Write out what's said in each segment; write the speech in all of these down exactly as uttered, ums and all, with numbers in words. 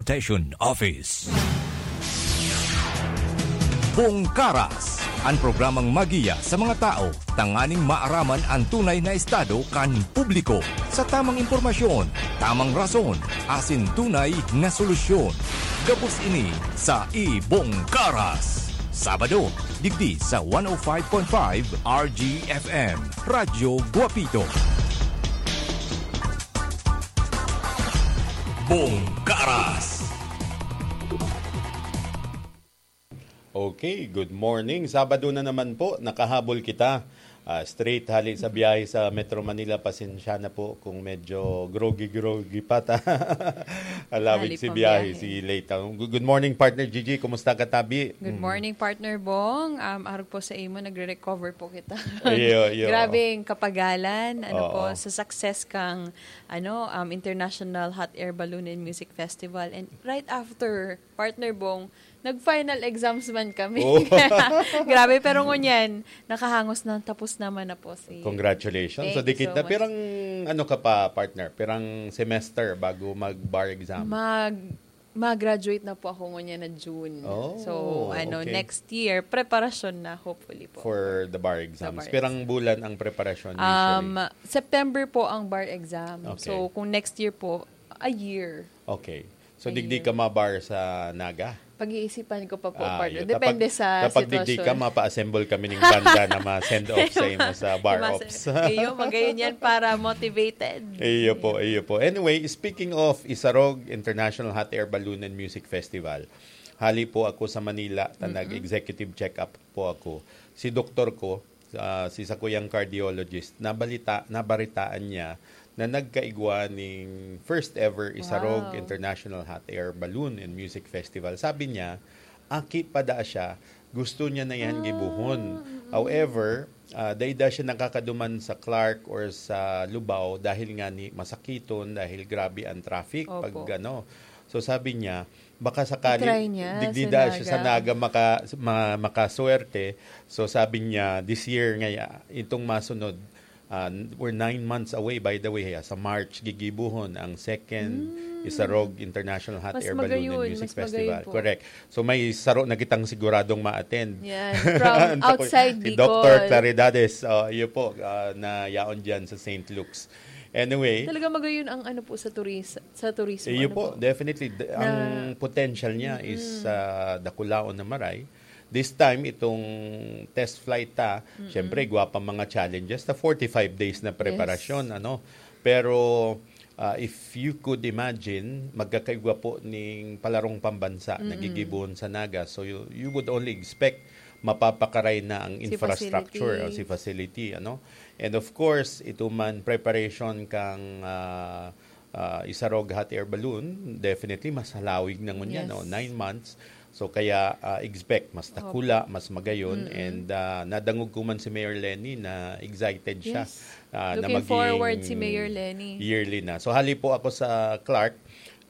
Station Office. Bongkaras, an programang magiya sa mga tao tanganing maaraman an tunay na estado kan publiko. Sa tamang impormasyon, tamang rason, asin tunay na solusyon. Gabos ini sa Ibong Karas. Sabado, digdi sa one oh five point five R G F M, Radyo Guapito. Bongkaras. Okay, good morning. Sabado na naman po, nakahabol kita. Ah, straight hali sa biyahe sa Metro Manila. Pasensya na po kung medyo groggy-groggy pa ta. Alawig Hali si pang biyahe, biyahe. si late. Ah, good good morning, partner Gigi. Kumusta ka, tabi? Good morning, partner Bong. Um, arog po sa imo, nagre-recover po kita. Iyo, iyo. Grabeng kapagalan, ano Oo. po, sa success kang ano, um, International Hot Air Balloon and Music Festival. And right after, partner Bong, nag-final exams man kami. Oh. Grabe, pero ngunyan, nakahangos na, tapos naman na po si... Congratulations. Thank So, you dikit so na. much. Pirang, ano ka pa, partner? Pirang semester bago mag-bar exam? Mag mag-graduate na po ako ngunyan na June. Oh, So, ano, okay. next year, preparasyon na, hopefully po. For the bar exams. bar Pirang bulan ang preparasyon usually? Um, September po ang bar exam. Okay. So, kung next year po, a year. Okay. So, Ayun. digdi ka mabar sa Naga? Pag-iisipan ko pa po, Ah, partner. yun. Depende Kapag- sa kapag digdi sitwasyon. ka, mapa-assemble kami ng banda na ma-send off sa imo sa bar Mas- ops. Iyo, magayon yan para motivated. Iyo po, iyo po. Anyway, speaking of Isarog International Hot Air Balloon and Music Festival, hali po ako sa Manila, ta nag-executive check-up po ako. Si doktor ko, ah, si sakuyang cardiologist, nabalita, nabaritaan niya na nagkaigwa ning first ever Isarog Wow. International Hot Air Balloon and Music Festival. Sabi niya, aki pa da siya, gusto niya na yan gibuhon. However, ah, dai da siya nakakaduman sa Clark or sa Lubao dahil nga ni masakiton, dahil grabe ang traffic Opo. pag ano. So, sabi niya, baka sakali, I-try niya digdi sa da siya sa Naga. Naga maka, ma, makaswerte. So, sabi niya, this year nga, itong masunod, ah, we're nine months away, by the way, ha, sa March, gigibuhon ang second Isarog International Hot Mas Air Balloon magayon, and Music mas magayon Festival. po. Correct. So, may saro na kitang siguradong ma-attend. Yan. From Ang tako- outside si Bicol. Doctor Claridades, oh, iyo po, ah, na yaon dyan sa Saint Luke's. Anyway, Talaga magayon ang ano po sa turis sa turismo. iyo Ano po, definitely. D- ang potential niya is ah, dakulaon na maray. This time, itong test flight ta, syempre, igwa pa mga challenges. Ta forty-five days na preparasyon, ano. Pero, ah, if you could imagine, magkakaigwa po ning palarong pambansa na gigibuhon sa Naga. So, you, you would only expect mapapakaray na ang Si infrastructure, facility. o si facility, ano. And of course, ito man preparation kang ah, ah, Isarog Hot Air Balloon, definitely mas halawig na ngunyan, Yes. no? Nine months. So, kaya ah, expect mas takula, mas magayon. And ah, nadangog ko man si Mayor Lenny na excited siya Yes. ah, na Looking maging forward si Mayor Lenny. yearly na. So, hali po ako sa Clark.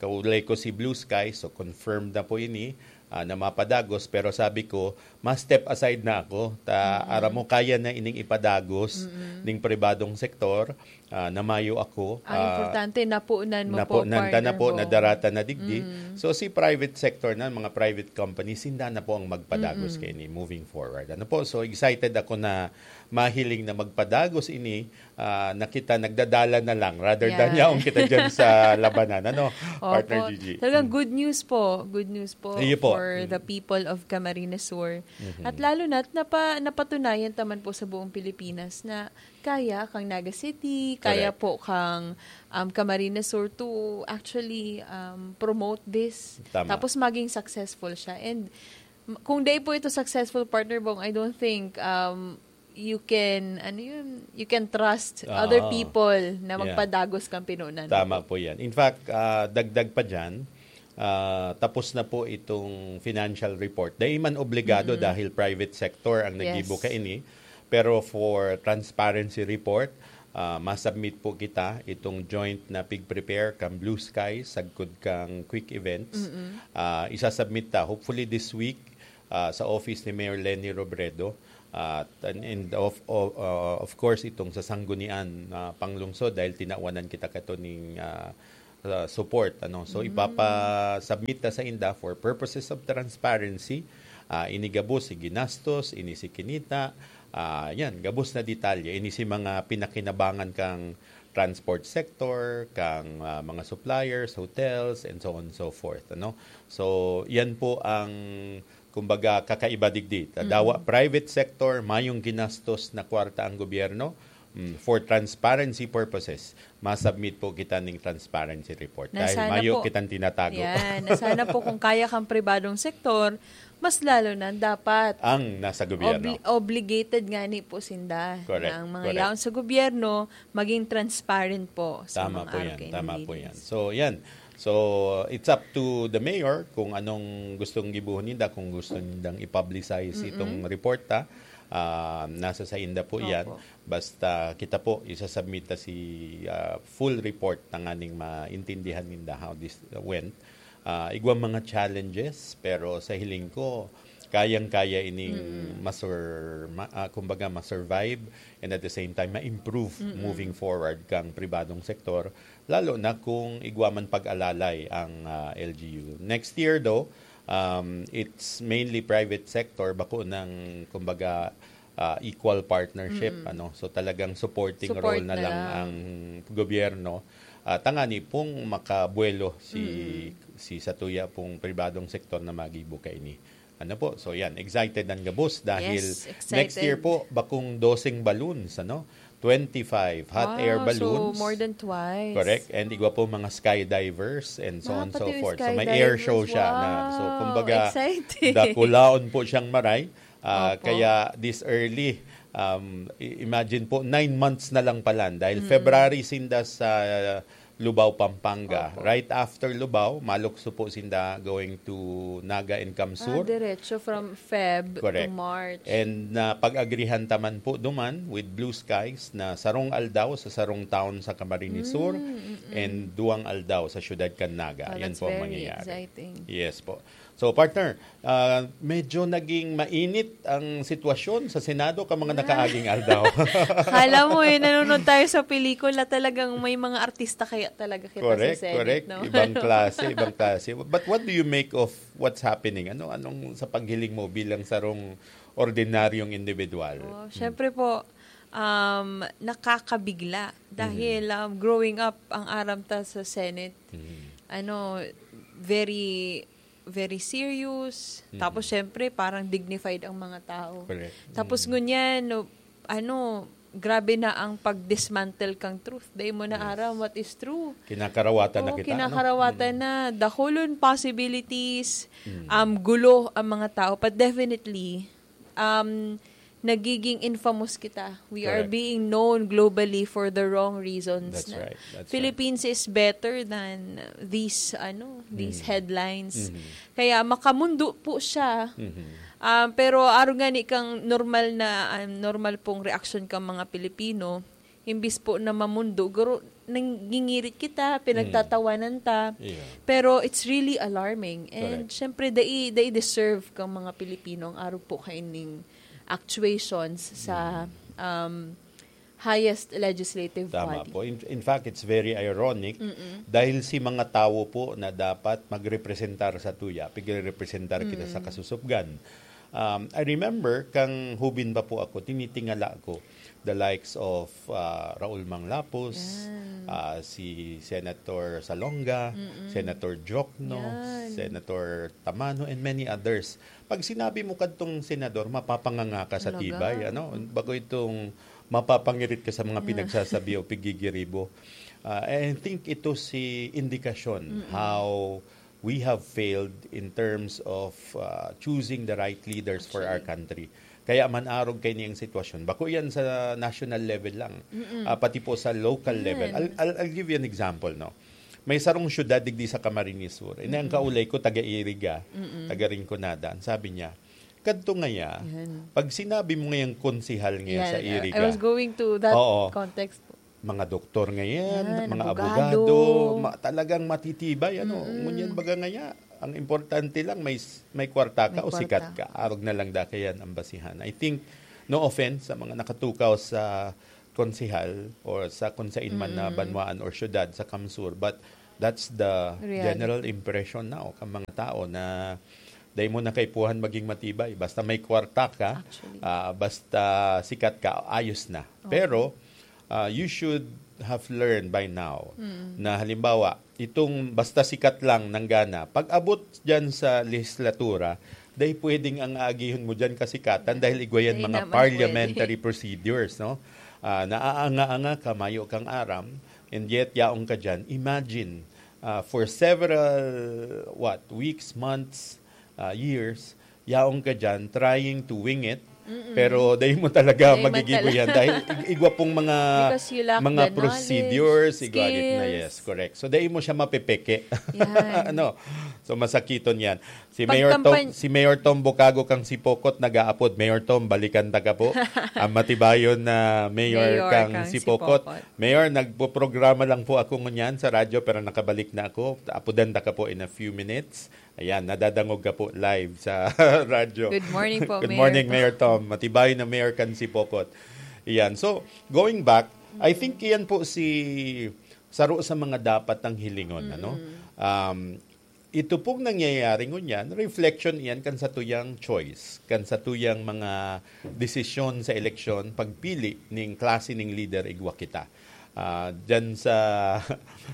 Kaulay ko si Blue Sky. So, confirmed na po ini ah, na mapadagos. Pero sabi ko, mas step aside na ako. Ta, aram mo, kaya na ining ipadagos ning pribadong sektor ah, na mayo ako. Ang ah, importante, napunan mo po, napunan ta na partner po, Bong. nadarata na digdi. So, si private sector na, mga private company, sinda na po ang magpadagos kay ni moving forward. Ano po? So, excited ako na mahiling na magpadagos ini, ah, na kita nagdadala na lang rather than Yeah. yaong kita dyan sa labanan. Ano, Opo. partner Gigi? Talagang good news po. Good news po Iyo po. for the people of Camarines Sur. At lalo na, napa, napatunayan taman po sa buong Pilipinas na kaya kang Naga City, kaya Correct. po kang um, Camarines Sur to actually um, promote this. Tama. Tapos maging successful siya. And m- kung dai po ito successful, partner Bong, I don't think um, you can, ano yun, you can trust Ah, other people na yeah. magpadagos kang pinunan. Tama po yan. In fact, ah, dagdag pa dyan, ah, tapos na po itong financial report. Dahil man obligado dahil private sector ang Yes. naggibo kaini. Pero for transparency report, ah, masubmit po kita itong joint na pig-prepare kang Blue Sky, sagkod kang Quick Events. Ah, isasubmit ta, hopefully this week, ah, sa office ni Mayor Lenny Robredo. At, and, and of, of, uh, of course, itong sa Sanggunian na Panglungsod dahil tinawanan kita kato ning ah, sa support, ano. So, ipapa-submit ta sa inda for purposes of transparency. Ah, ini gabos si ginastos, ini si kinita. Ah, yan, gabos na detalye. Ini si mga pinakinabangan kang transport sector, kang, ah, mga suppliers, hotels, and so on and so forth, ano. So, yan po ang, kumbaga, kakaiba digdi. Ta dawa private sector, mayong ginastos na kwarta ang gobyerno. Mm, for transparency purposes, ma-submit po kita ning transparency report. Dahil Nasana mayo po. kitang tinatago. Yan. Na sana po kung kaya kang pribadong sektor, mas lalo na dapat Ang nasa gobyerno. obli-, obligated nga ni po sinda Correct, na ang mga correct. yaon sa gobyerno maging transparent po sa Tama mga po yan, R K N tama po yan. Ladies. So, yan. So, it's up to the mayor kung anong gustong gibuhon ninda, kung gusto nindang i-publicize itong report, ha. Ah, nasa sa inda po yan. Opo. Basta kita po, isasubmit ta si, ah, full report tanganing maintindihan ninda how this went. Ah, igwang mga challenges, pero sa hiling ko, kayang-kaya ining Mm. masur-, ma-, ah, kumbaga, ma-survive and at the same time, ma-improve Mm-mm. moving forward kang pribadong sektor, lalo na kung igwa man pag-alalay ang, ah, L G U. Next year, though, um, it's mainly private sector, bako ng, kumbaga, ah, equal partnership, Mm. ano. So, talagang supporting Support role na na lang lang. ang gobyerno. Ah, tangani pong makabuelo si, Mm. si satuya pong pribadong sektor na magibo kaini. Ano po? So, yan. Excited ang gabos dahil Yes, next year excited. po, bakong doseng balloons, ano? Twenty-five hot Wow, air so balloons. more than twice. Correct. And igwa po mga skydivers and so Ah, on and so pati yung forth. So, may air show skydivers. siya na. So, Wow, kumbaga, exciting. dakulaon po siyang maray. Ah, Opo. kaya this early, um, i-, imagine po, nine months na lang pala. Dahil Mm. February sinda sa Lubao, Pampanga. Opo. Right after Lubao, malukso po sinda going to Naga and Ah, Camsur. diretso from Feb to Correct. March. And napag-agrihan ta man po duman with Blue Skies na sarong aldaw sa sarong town sa Camarines Sur Mm, mm, mm. and duwang aldaw sa siyudad kan Naga. Oh, Yan that's po ang very mangyayari. exciting. Yes po. So, partner, ah, medyo naging mainit ang sitwasyon sa Senado kan mga nakaaging aldaw. Akala mo eh, nanonood tayo sa pelikula, talagang may mga artista kaya talaga kita Correct, sa Senate, correct. no? Ibang klase, ibang klase. But what do you make of what's happening? Ano, anong sa paghiling mo bilang sarong ordinaryong individual? Oh, Mm. syempre po, um, nakakabigla. Dahil, Mm. um, growing up, ang aram ta sa Senate, Mm. ano, very, very serious. Mm. Tapos, syempre, parang dignified ang mga tao. Correct. Tapos, Mm. ngunyan, no, ano, grabe na ang pag-dismantle kang truth. Dahil mo na Yes. aram what is true. Kinakarawatan na Oo, kita, ano? kinakarawatan Mm. na. Dakulon possibilities, Mm. um, gulo ang mga tao. But definitely, um, nagiging infamous kita. We are Correct. being known globally for the wrong reasons That's na right. That's Philippines right. is better than these, ano, these Mm. headlines. Mm. Kaya makamundo po siya. Mm. Um, pero arog nga ni kang normal na, um, normal pong reaksyon kang mga Pilipino, imbis po na mamundo, guro, nangingirit kita, Mm. pinagtatawanan ta. Yeah. Pero it's really alarming. And Correct. syempre, dai, dai deserve kang mga Pilipino ang arog po kaining actuations sa, Mm. um, highest legislative Tama body. po. In, in fact, it's very ironic Mm-mm. dahil si mga tawo po na dapat magrepresentar sa tuya, pigrepresentar kita sa Mm. kasusubgan. Um, I remember, kang hubin pa po ako, tinitingala ko the likes of, ah, Raul Manglapos, Yan. ah, si Senator Salonga, Mm-mm. Senator Jokno, Yan. Senator Tamano, and many others. Pag sinabi mo kadtong senador, mapapanganga ka sa Talaga? tibay, ano? Bago itong mapapangirit ka sa mga Yeah. pinagsasabi o pigigiribo. Ah, I think ito si indikasyon Mm-mm. how we have failed in terms of, ah, choosing the right leaders for our Actually. country. Kaya man arog kaini ang sitwasyon. Bako yan sa national level lang. Mm-mm. Ah, pati po sa local Yan. level. I'll, I'll, I'll give you an example, no? May sarong syudad digdi sa Camarines Sur. Ini ang Mm-mm. kaulay ko, taga Iriga, Mm-mm. taga Rinconada. Ang sabi niya, "Kadto ngaya, Yan. pag sinabi mo ngayang konsehal ngaya Yan. sa I, Iriga." I was going to that Oo. context. Mga doktor ngayon, Yan, mga abogado. abogado, ma-, talagang matitibay, ano. Mm-mm. Ngunyan baga ngaya, ang importante lang may s-, may kwarta ka May o sikat kwarta. ka. Arog na lang da kayan ang basihan. I think, no offense sa mga nakatukaw sa konsehal or sa kung sain man na Mm-mm. banwaan or syudad sa Kamsur, but That's the Reality. General impression now kan mga tao na dai mo na kaipuhan maging matibay. Basta may kwarta ka, Actually. ah, basta sikat ka, ayos na. Pero ah, you should have learned by now na halimbawa, itong basta sikat lang nanggana, pag abot dyan sa lehislatura, dai pwedeng ang aagihon mo dyan kasikatan dahil igwa yan Dai mga naman parliamentary procedures, no? Ah, naaanga-anga ka, mayo kang aram, and yet yaong ka dyan. Imagine, ah, for several, what, weeks, months, ah, years, yaong ka dyan trying to wing it, pero dai mo talaga Dai man magigibo talaga. Yan dahil ig- igwa pong mga Because you lack mga the procedures, knowledge, igwa na, skills. Yes, correct. So dai mo siya mapepeke. Yan. Ano? So masakiton yan. Si Pag Mayor Tom, kampany- si Mayor Tom Bukago kang Sipokot nag-aapod. Mayor Tom, balikan ta ka po. Ang matibayon na mayor, Mayor kang, kang Sipokot. Sipokot. Mayor, nagpo-programa lang po ako ngunyan sa radyo pero nakabalik na ako. Apodan ta ka po in a few minutes. Ayan, nadadangog ka po live sa radyo. Good morning po, Good Mayor morning, Tom. Mayor Tom. Matibay na mayor kan Sipokot. Ayan. So, going back, I think iyan po si saro sa mga dapat ang hilingon, ano? Um, ito pong nangyayari ngunyan, reflection iyan kan satuyang choice, kan satuyang mga desisyon sa eleksyon, pagpili ning klase ning leader igwa kita. Ah, dyan sa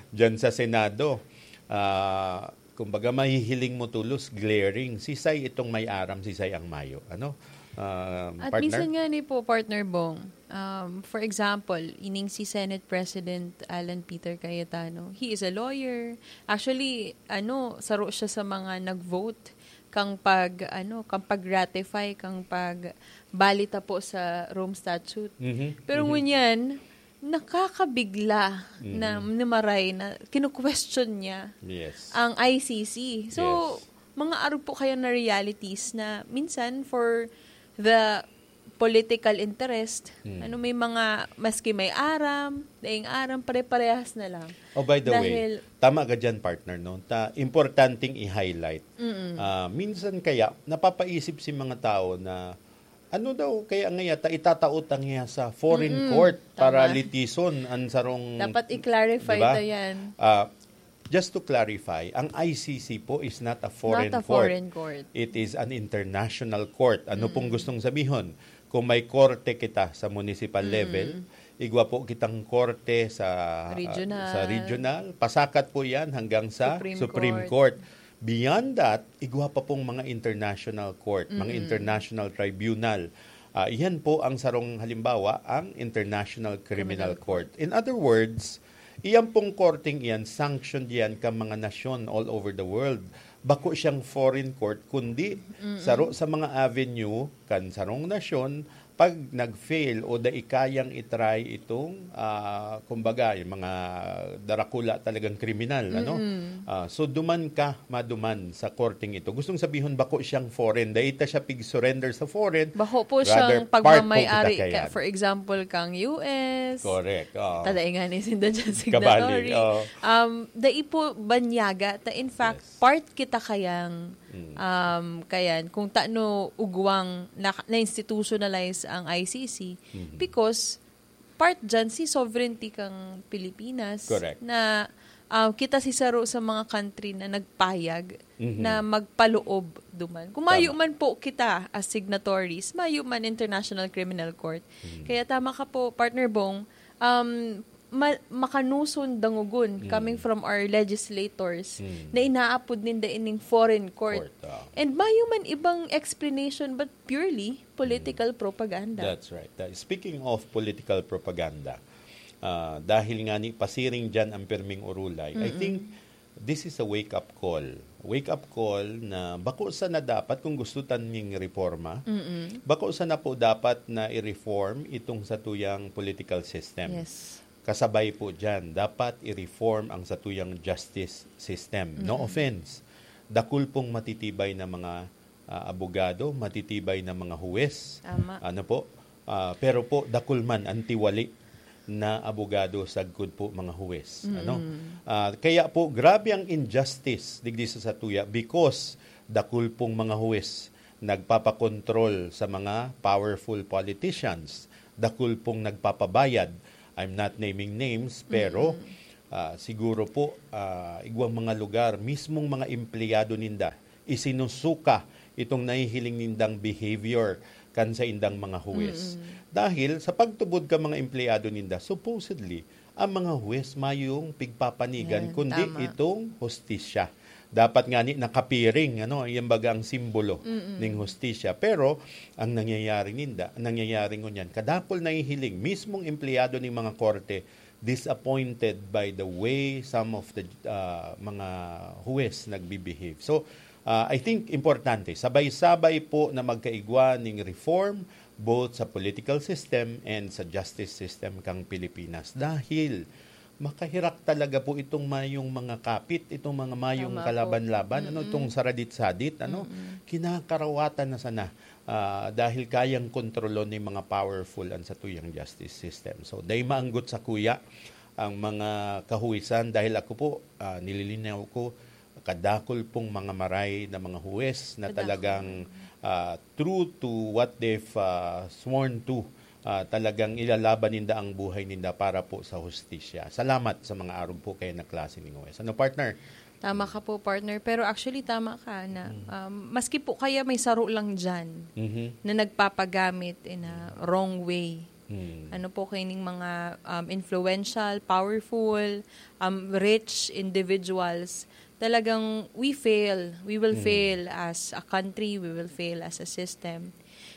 dyan sa Senado, ah, kumbaga mahihiling mo tulos, glaring, sisay itong may aram, sisay ang mayo, ano? Ah, At partner? minsan nga ni po, Partner Bong, um, for example, ining si Senate President Alan Peter Cayetano, he is a lawyer. Actually, ano, saro siya sa mga nag-vote kang pag, ano, kang pag-ratify, kang pag-bali ta po sa Rome Statute. Mhm. Pero ngunyan, nakakabigla na, na maray na kinu-question niya Yes. ang I C C. So, Yes. mga arog po kaya na realities na minsan for the political interest, Mm. ano, may mga, maski may aram, daing aram, pare-parehas na lang. Oh, by the Dahil- way, tama ka dyan, partner, no? Ta, importanteng i-highlight. Ah, minsan kaya, napapaisip si mga tao na, ano daw, kaya nga yata, itataot ang iya sa foreign Mm-mm, court para tama. Litisan ang sarong... Dapat i-clarify Diba? ta yan. Ah, just to clarify, ang I C C po is not a foreign Not a court. Foreign court. It is an international court. Ano pong gustong sabihon? Kung may korte kita sa municipal level, igwa po kitang korte sa Regional. sa regional, pasakat po 'yan hanggang sa Supreme Supreme, Court. Court. Beyond that, igwa pa pong mga international court, mga international tribunal. Ah, iyan po ang sarong halimbawa, ang International Criminal Court. In other words, iyan pong korteng iyan, sanctioned iyan ka mga nasyon all over the world. Bako siyang foreign court, kundi saro sa mga avenue kan sarong nasyon, pag nag-fail o dai kayang i-try itong, ah, kumbaga, yung mga darakula talagang kriminal, ano? Ah, so, duman ka, maduman sa korteng ito. Gustong sabihon, bako siyang foreign. Dai ta siya pig-surrender sa foreign. Bako po Rather, siyang part po pagmamayari, kita ka, kayan. For example, kang U S. Correct. Oo. Tadaingan ni sinda dyan Kabali, signatory. oo. Um, dai po banyaga. Ta, in fact, Yes. part kita kayang, Mm. um, kayan, kung tano ugwang na, na-institutionalize ang I C C. Mhm. Because, part dyan si sovereignty kang Pilipinas. Correct. Na, um, kita si saro sa mga country na nagpayag Mhm. na magpaloob duman. Kung mayo Tama. man po kita as signatories, mayo man International Criminal Court. Mhm. Kaya tama ka po, Partner Bong, um, ma- makanuson dangogon Mhm. coming from our legislators Mhm. na inaapod ninda ining foreign court. Court, ah. And mayo man ibang explanation but purely political propaganda. That's right. That- speaking of political propaganda, ah, dahil nga ni pasiring dyan ang pirming urulay, I think this is a wake-up call. Wake-up call na bako sana dapat kung gusto tan ning reforma, bako sana po dapat na i-reform itong satuyang political system. Yes. Kasabay po dyan, dapat i-reform ang satuyang justice system. No offense. Dakul pong matitibay na mga, ah, abogado, matitibay na mga huwes. Tama. Ano po? Ah, pero po, dakul man ang tiwali na abogado sagkod po mga huwes. Ano? Ah, kaya po, grabe ang injustice digdi sa satuya because dakul pong mga huwes nagpapakontrol sa mga powerful politicians. Dakul pong nagpapabayad. I'm not naming names, pero ah, siguro po, ah, igwang mga lugar, mismong mga empleyado ninda, isinusuka itong nahihiling nindang behavior kan saindang mga huwes. Mm. Dahil sa pagtubod ka mga empleyado ninda, supposedly, ang mga huwes mayong pigpapanigan, Yan, kundi tama. itong hustisya. Dapat nga ni nakapiring, ano, yan baga ang simbolo Mm-mm. ning hustisya. Pero ang nangyayari ninda, nangyayari ngunyan, kadakol nahihiling, mismong empleyado ning mga korte, disappointed by the way some of the, ah, mga huwes nagbibehave. So, ah, I think importante, sabay-sabay po na magkaigwa ning reform, both sa political system and sa justice system kang Pilipinas. Dahil makahirak talaga po itong mayong mga kapit, itong mga mayong Tama po. kalaban-laban, ano, Mm-mm. itong saradit-sadit, ano, Mm-mm. kinakarawatan na sana, ah, dahil kayang kontrolon ng mga powerful ang satuyang justice system. So, dai maanggot sa kuya ang mga kahuwisan dahil ako po, ah, nililinaw ko, kadakol pong mga maray na mga huwes na Kadakol. talagang, ah, true to what they've, ah, sworn to. Ah, talagang ilalaban ninda ang buhay ninda para po sa hustisya. Salamat sa mga arog po kayo na klase ning huwes. Ano, partner? Tama ka po, partner. Pero actually, tama ka na, Mm. um, maski po kaya may saro lang dyan Mhm. na nagpapagamit in a wrong way. Mm. Ano po, kaining mga, um, influential, powerful, um, rich individuals, talagang we fail. We will Mm. fail as a country. We will fail as a system.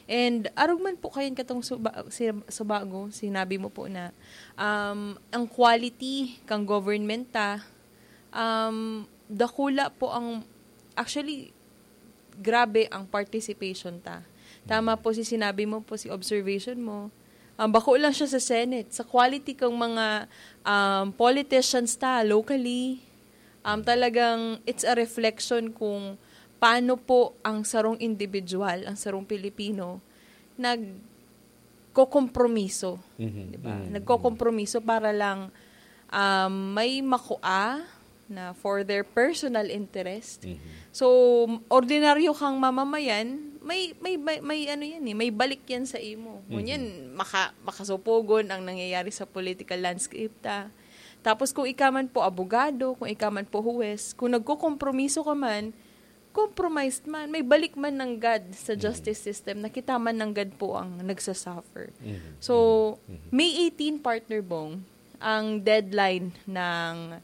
And arog man po kayan katong suba-, si-, subago, sinabi mo po na, um, ang quality kang government ta, um, dakula po ang, actually, grabe ang participation ta. Tama Mm. po si sinabi mo po, si observation mo. Um, bako lang siya sa Senate, sa quality kang mga, um, politicians ta locally, um, talagang it's a reflection kung paano po ang sarong individual, ang sarong Pilipino, nagkokompromiso, Mhm. di ba? Mhm. Nagkokompromiso para lang, um, may makua na for their personal interest. Mhm. So, ordinaryo kang mamamayan, may, may, may, may ano yan eh, may balik yan sa imo. Mhm. Ngunyan, maka-, makasupogon ang nangyayari sa political landscape ta. Tapos kung ika man po abogado, kung ika man po huwes, kung nagkokompromiso ka man, compromised man, may balik man nanggad sa Mhm. justice system na kita man nanggad po ang nagsasuffer. Mhm. So, Mhm. May eighteen, Partner Bong, ang deadline ng,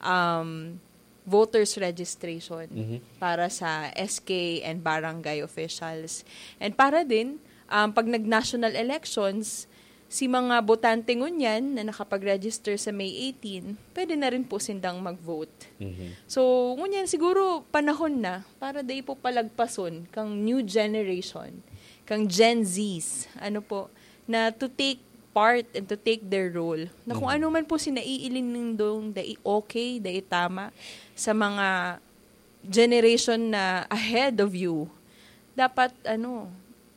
um, voters registration Mhm. para sa S K and barangay officials. And para din, um, pag nag-national elections, si mga botante ngunyan na nakapag-register sa May eighteen, pwede na rin po sindang mag-vote. Mhm. So, ngunyan siguro panahon na para dai po palagpason kang new generation, kang Gen Zs, ano po, na to take part and to take their role. Na kung Mhm. ano man po si naiilin nindong dai okay, dai tama sa mga generation na ahead of you, dapat, ano,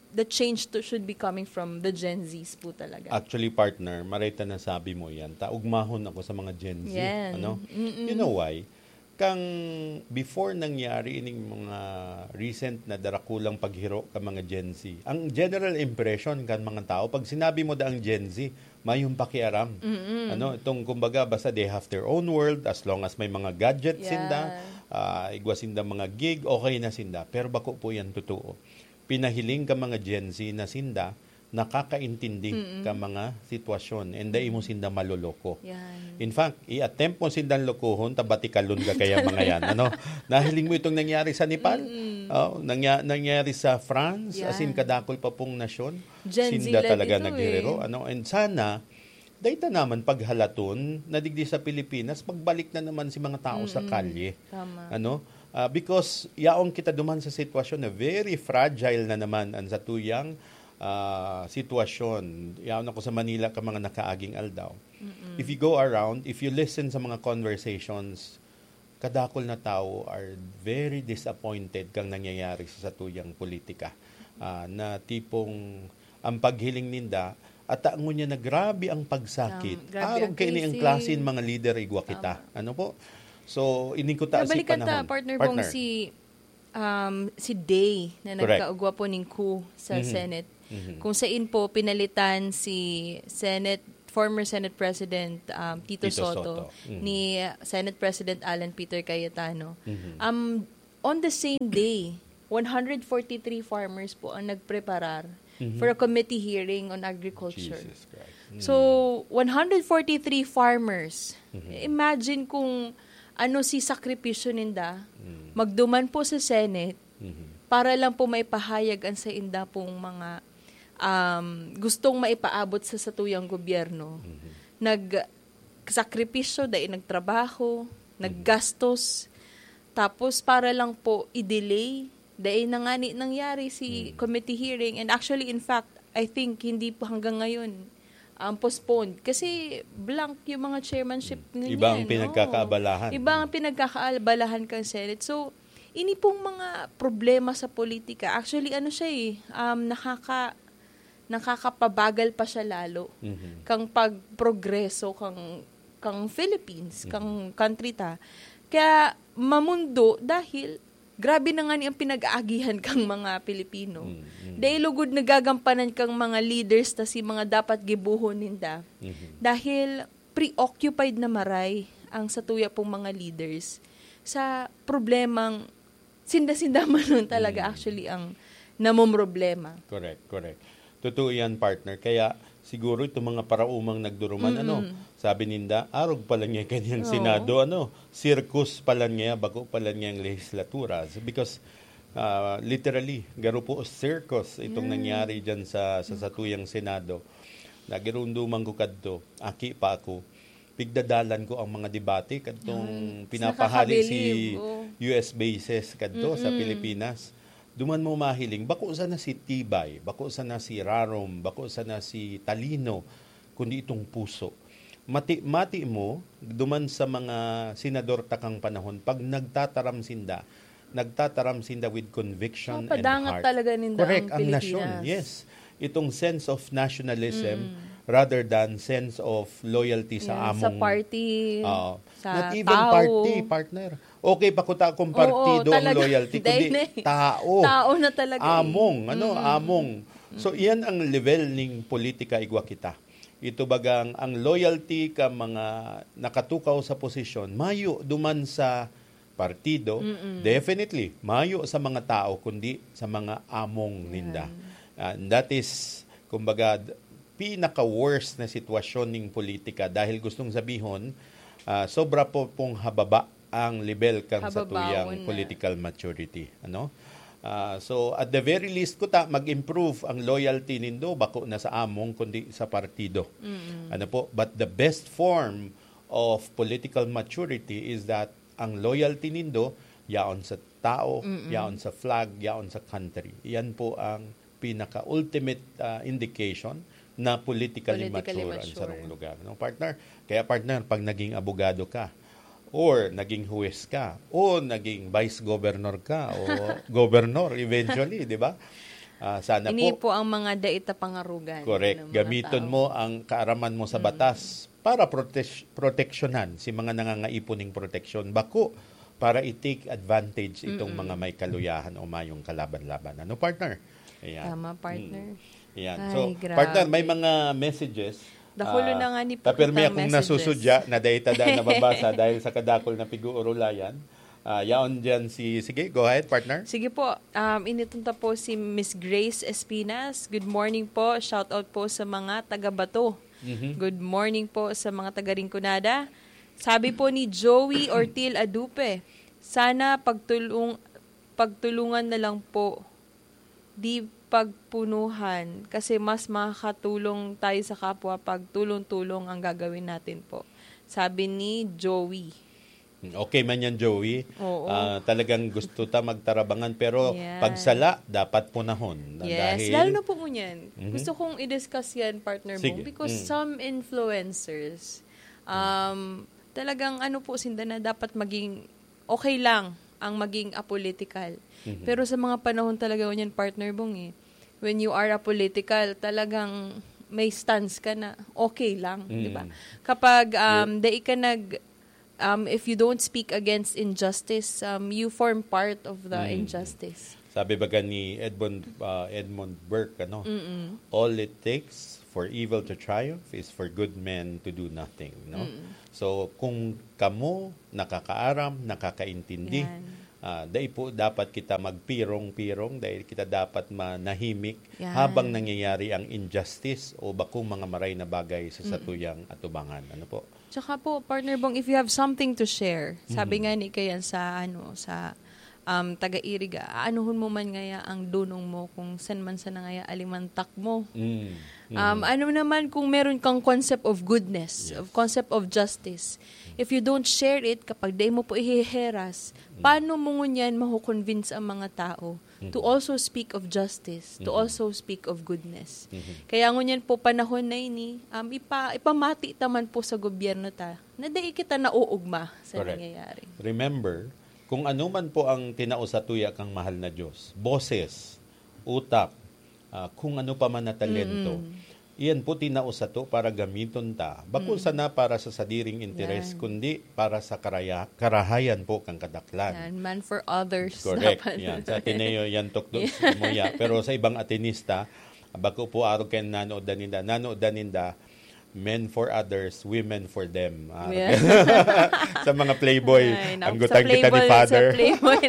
the change to, should be coming from the Gen Zs po talaga. Actually, partner, maray ta nasabi mo yan. Ta, ugmahon ako sa mga Gen Z. Yan. Ano? Mm-mm. You know why? Kang before nangyari ining mga recent na darakulang paghiro ka mga Gen Z, ang general impression kan mga tao, pag sinabi mo daang Gen Z, mayong pakiaram. Mm-mm. Ano, itong kumbaga, basta they have their own world, as long as may mga gadget Yeah. sinda, ah, igwa sinda mga gig, okay na sinda. Pero bako po yan totoo. Pinahiling ka mga Gen Z na sinda, nakakaintindi Mm-mm. ka mga sitwasyon, and dai mo sinda maloloko. Yan. In fact, i-attempt mo sindang lokohon, tabatikalon ka kaya mga yan. Ano? Nahiling mo itong nangyari sa Nepal? Mm-mm. Oh, nangya-, nangyari sa France, as in, Yeah. kadakol pa pong nasyon. Gen Z Sinda led talaga ito naghiriro, eh. ano? And sana, dai ta naman paghalaton na digdi sa Pilipinas, pagbalik na naman si mga tao sa Mm-mm. kalye. Tama. Ano? Ah, because yaon kita duman sa sitwasyon na very fragile na naman ang satuyang, ah, sitwasyon. Yaon ako sa Manila ka mga nakaaging aldaw. Mm-mm. If you go around, if you listen sa mga conversations, kadakol na tawo are very disappointed kang nangyayari sa satuyang politika. Ah, na tipong ang paghiling ninda, ata ngunyan na grabe ang pagsakit. Tama. Grabe Arog ang kaini ang cases. klase ng mga lider igwa kita. Tama. Ano po? So, ini ko ta si Nabalikan ta, panahon. Partner Bong, Partner. si, um, si Day na Correct. nagkaugwa po ning coup sa Mhm. Senate. Mhm. Kung sain po, pinalitan si Senate former Senate President, um, Tito Tito Soto, Soto. Mhm. ni Senate President Alan Peter Cayetano. Mhm. Um, on the same day, one hundred forty-three farmers po ang nagpreparar Mhm. for a committee hearing on agriculture. Jesus Christ. Mm. So, one hundred forty-three farmers. Mhm. Imagine kung ano si sakripisyo ninda, Mm. magduman po sa Senate, Mhm. para lang po maipahayag ang sainda pong mga, um, gustong maipaabot sa satuyang gobyerno. Mhm. Nagsakripisyo, dai nagtrabaho, Mhm. naggastos. Tapos para lang po i-delay, dai na ngani nangyari si Mm. committee hearing. And actually, in fact, I think hindi po hanggang ngayon, um, postponed. Kasi blank yung mga chairmanship Mm. ninyo, Iba ang eh, no? pinagkakaabalahan. Iba ang pinagkakaabalahan kang Senate. So, ini pong mga problema sa politika, actually, ano siya eh, um, nakaka-, nakakapabagal pa siya lalo Mhm. kang pagprogreso kang, kang Philippines, Mhm. kang country ta. Kaya mamundo dahil grabe na nga ni ang pinag-aagihan kang mga Pilipino. Mm, mm. Dahil lugod nagagampanan kang mga leaders ta si mga dapat gibuhon ninda. Mhm. Dahil preoccupied na maray ang satuya pong mga leaders sa problemang sinda-sinda man nun talaga Mm. actually ang namomroblema. Correct, correct. Totoo yan, partner. Kaya siguro itong mga paraumang nagduruman, Mm-mm. ano, sabi ninda, arog pala niya kanyang Oo. Senado, ano, circus pala niya, bako pala niyang lehislatura. So, because, ah, literally, garo po circus itong Mm. nangyari dyan sa, sa satuyang Senado. Nagirumduman ko kadto, aki pa ako. Pigdadalan ko ang mga debate kadtong Ay, pinapahali si nakakabilib, oo. U S bases kadto sa Mm-mm. Pilipinas. Duman mo mahiling, bako sana si Tibay, bako sana si Rarom, bako sana si Talino, kundi itong puso. Mati-, mati mo, duman sa mga senador takang panahon, pag nagtataram sinda, nagtataram sinda with conviction and Mapadangat heart. talaga ninda Correct, ang ang nasyon, Pilipinas. yes. Itong sense of nationalism Mm. rather than sense of loyalty sa Yan, sa among party, Oo. sa Not even tao. party, partner. Okay pa kuta kung Oo, partido ang talaga. loyalty, Dahil kundi na eh. tao. Tao na talaga eh. Among, ano, Mm-mm. among. So, Mm-mm. iyan ang level ning politika igwa kita. Ito bagang ang loyalty ka mga nakatukaw sa posisyon, mayo duman sa partido, Mm-mm. definitely, mayo sa mga tao, kundi sa mga among ninda. Yan. And that is, kumbaga, d-, pinaka-worst na sitwasyon ning politika dahil gustong sabihon, ah, sobra po pong hababa ang level kan Hababaon satuyang na. political maturity. Ano? Ah, so, at the very least, kuta, mag-improve ang loyalty nindo, bako na sa among, kundi sa partido. Mm-mm. Ano po? But the best form of political maturity is that ang loyalty nindo, yaon sa tao, Mm-mm. yaon sa flag, yaon sa country. Yan po ang pinaka-ultimate, ah, indication na politically Politically mature ang mature. sarong lugar. No, partner? Kaya, partner, pag naging abogado ka, or naging huwes ka, o naging vice governor ka, o governor eventually, di ba? Ah, sana Ini po. po ang mga dai ta pangarugan Correct. ng mga Gamiton tao. mo ang kaaraman mo sa Mm. batas para protes-, proteksyonan si mga nangangaipo ning proteksyon. Bako para i-take advantage itong Mm-mm. mga may kaluyahan o mayong kalaban-laban. Ano, partner? Ayan. Tama, partner. Mm. Ayan. Ay, So, grabe. partner, may mga messages. Dakulo Ah, na nga ni tapirmi Putang akong messages. nasusudya na dahil tada nababasa dahil sa kadakol na pig-uurulayan. Ah, yaon dyan si, sige, go ahead, partner. Sige po, um, initunta po si Miss Grace Espinas. Good morning po. Shout out po sa mga taga Bato. Mhm. Good morning po sa mga taga Rinconada. Sabi po ni Joey Ortil Adupe, "Sana pagtulung-, pagtulungan na lang po, di pagpunuhan, kasi mas makakatulong tayo sa kapwa pag tulong-tulong ang gagawin natin po." Sabi ni Joey. Okay man yan, Joey. Oo. Ah, talagang gusto ta magtarabangan, pero Yan. pagsala, dapat punahon. Yes, Dahil lalo na po ngunyan. Mhm. Gusto kong i-discuss yan, partner Sige. Bong, because Mm. some influencers, um, talagang ano po, sinda na dapat maging okay lang ang maging apolitical. Mhm. Pero sa mga panahon talaga ngunyan, partner Bong, eh, when you are apolitical, talagang may stance ka na okay lang, Mm. di ba? Kapag, um, You're dai ka nag-, Um, if you don't speak against injustice, um, you form part of the Mm. injustice. Sabi baga ni Edmund, ah, Edmund Burke, ano, Mm-mm. "All it takes for evil to triumph is for good men to do nothing," no? Mm. So, kung kamo nakakaaram, nakakaintindi, Yan. ah, dai po dapat kita magpirong-pirong, dai kita dapat manahimik Yan. habang nangyayari ang injustice o bakong mga maray na bagay sa Mm. satuyang atubangan. Ano po? Tsaka po, Partner Bong, if you have something to share, sabi Mhm. nga ni Kayan sa, ano, sa, um, taga-Iriga, aanuhon mo man ngaya ang dunong mo kung san man sana ngaya alimantak mo. Mm. Um, Mm. ano naman kung meron kang concept of goodness, Yes. of concept of justice? If you don't share it, kapag dai mo po ihiheras, Mm. paano mo ngunyan maho-convince ang mga tao to Mhm. also speak of justice, to Mhm. also speak of goodness? Mhm. Kaya ngunyan po, panahon na ini, um, ipa-, ipamati ta man po sa gobyerno ta na dai kita nauugma sa Correct. nangyayari. Remember, kung ano man po ang tinao sa tuya kang mahal na Diyos, boses, utak, ah, kung ano pa man na talento, Mm-mm. iyan po tinao sato para gamiton ta. Bako Mm. sana para sa sadiring interes, Yan. kundi para sa karaya-, karahayan po kang kadaklan. Yan, man for others. Correct. Dapat. Yan. Sa Ateneo, yan tukdo Yeah. sa Muya. Pero sa ibang Atenista, bako po arog kay nanood na ninda. Nanood na ninda, men for others, women for them. Ah, Yeah. sa mga playboy, Ay, naku, anggutan sa kita ni Playboy, Father. Sa Playboy.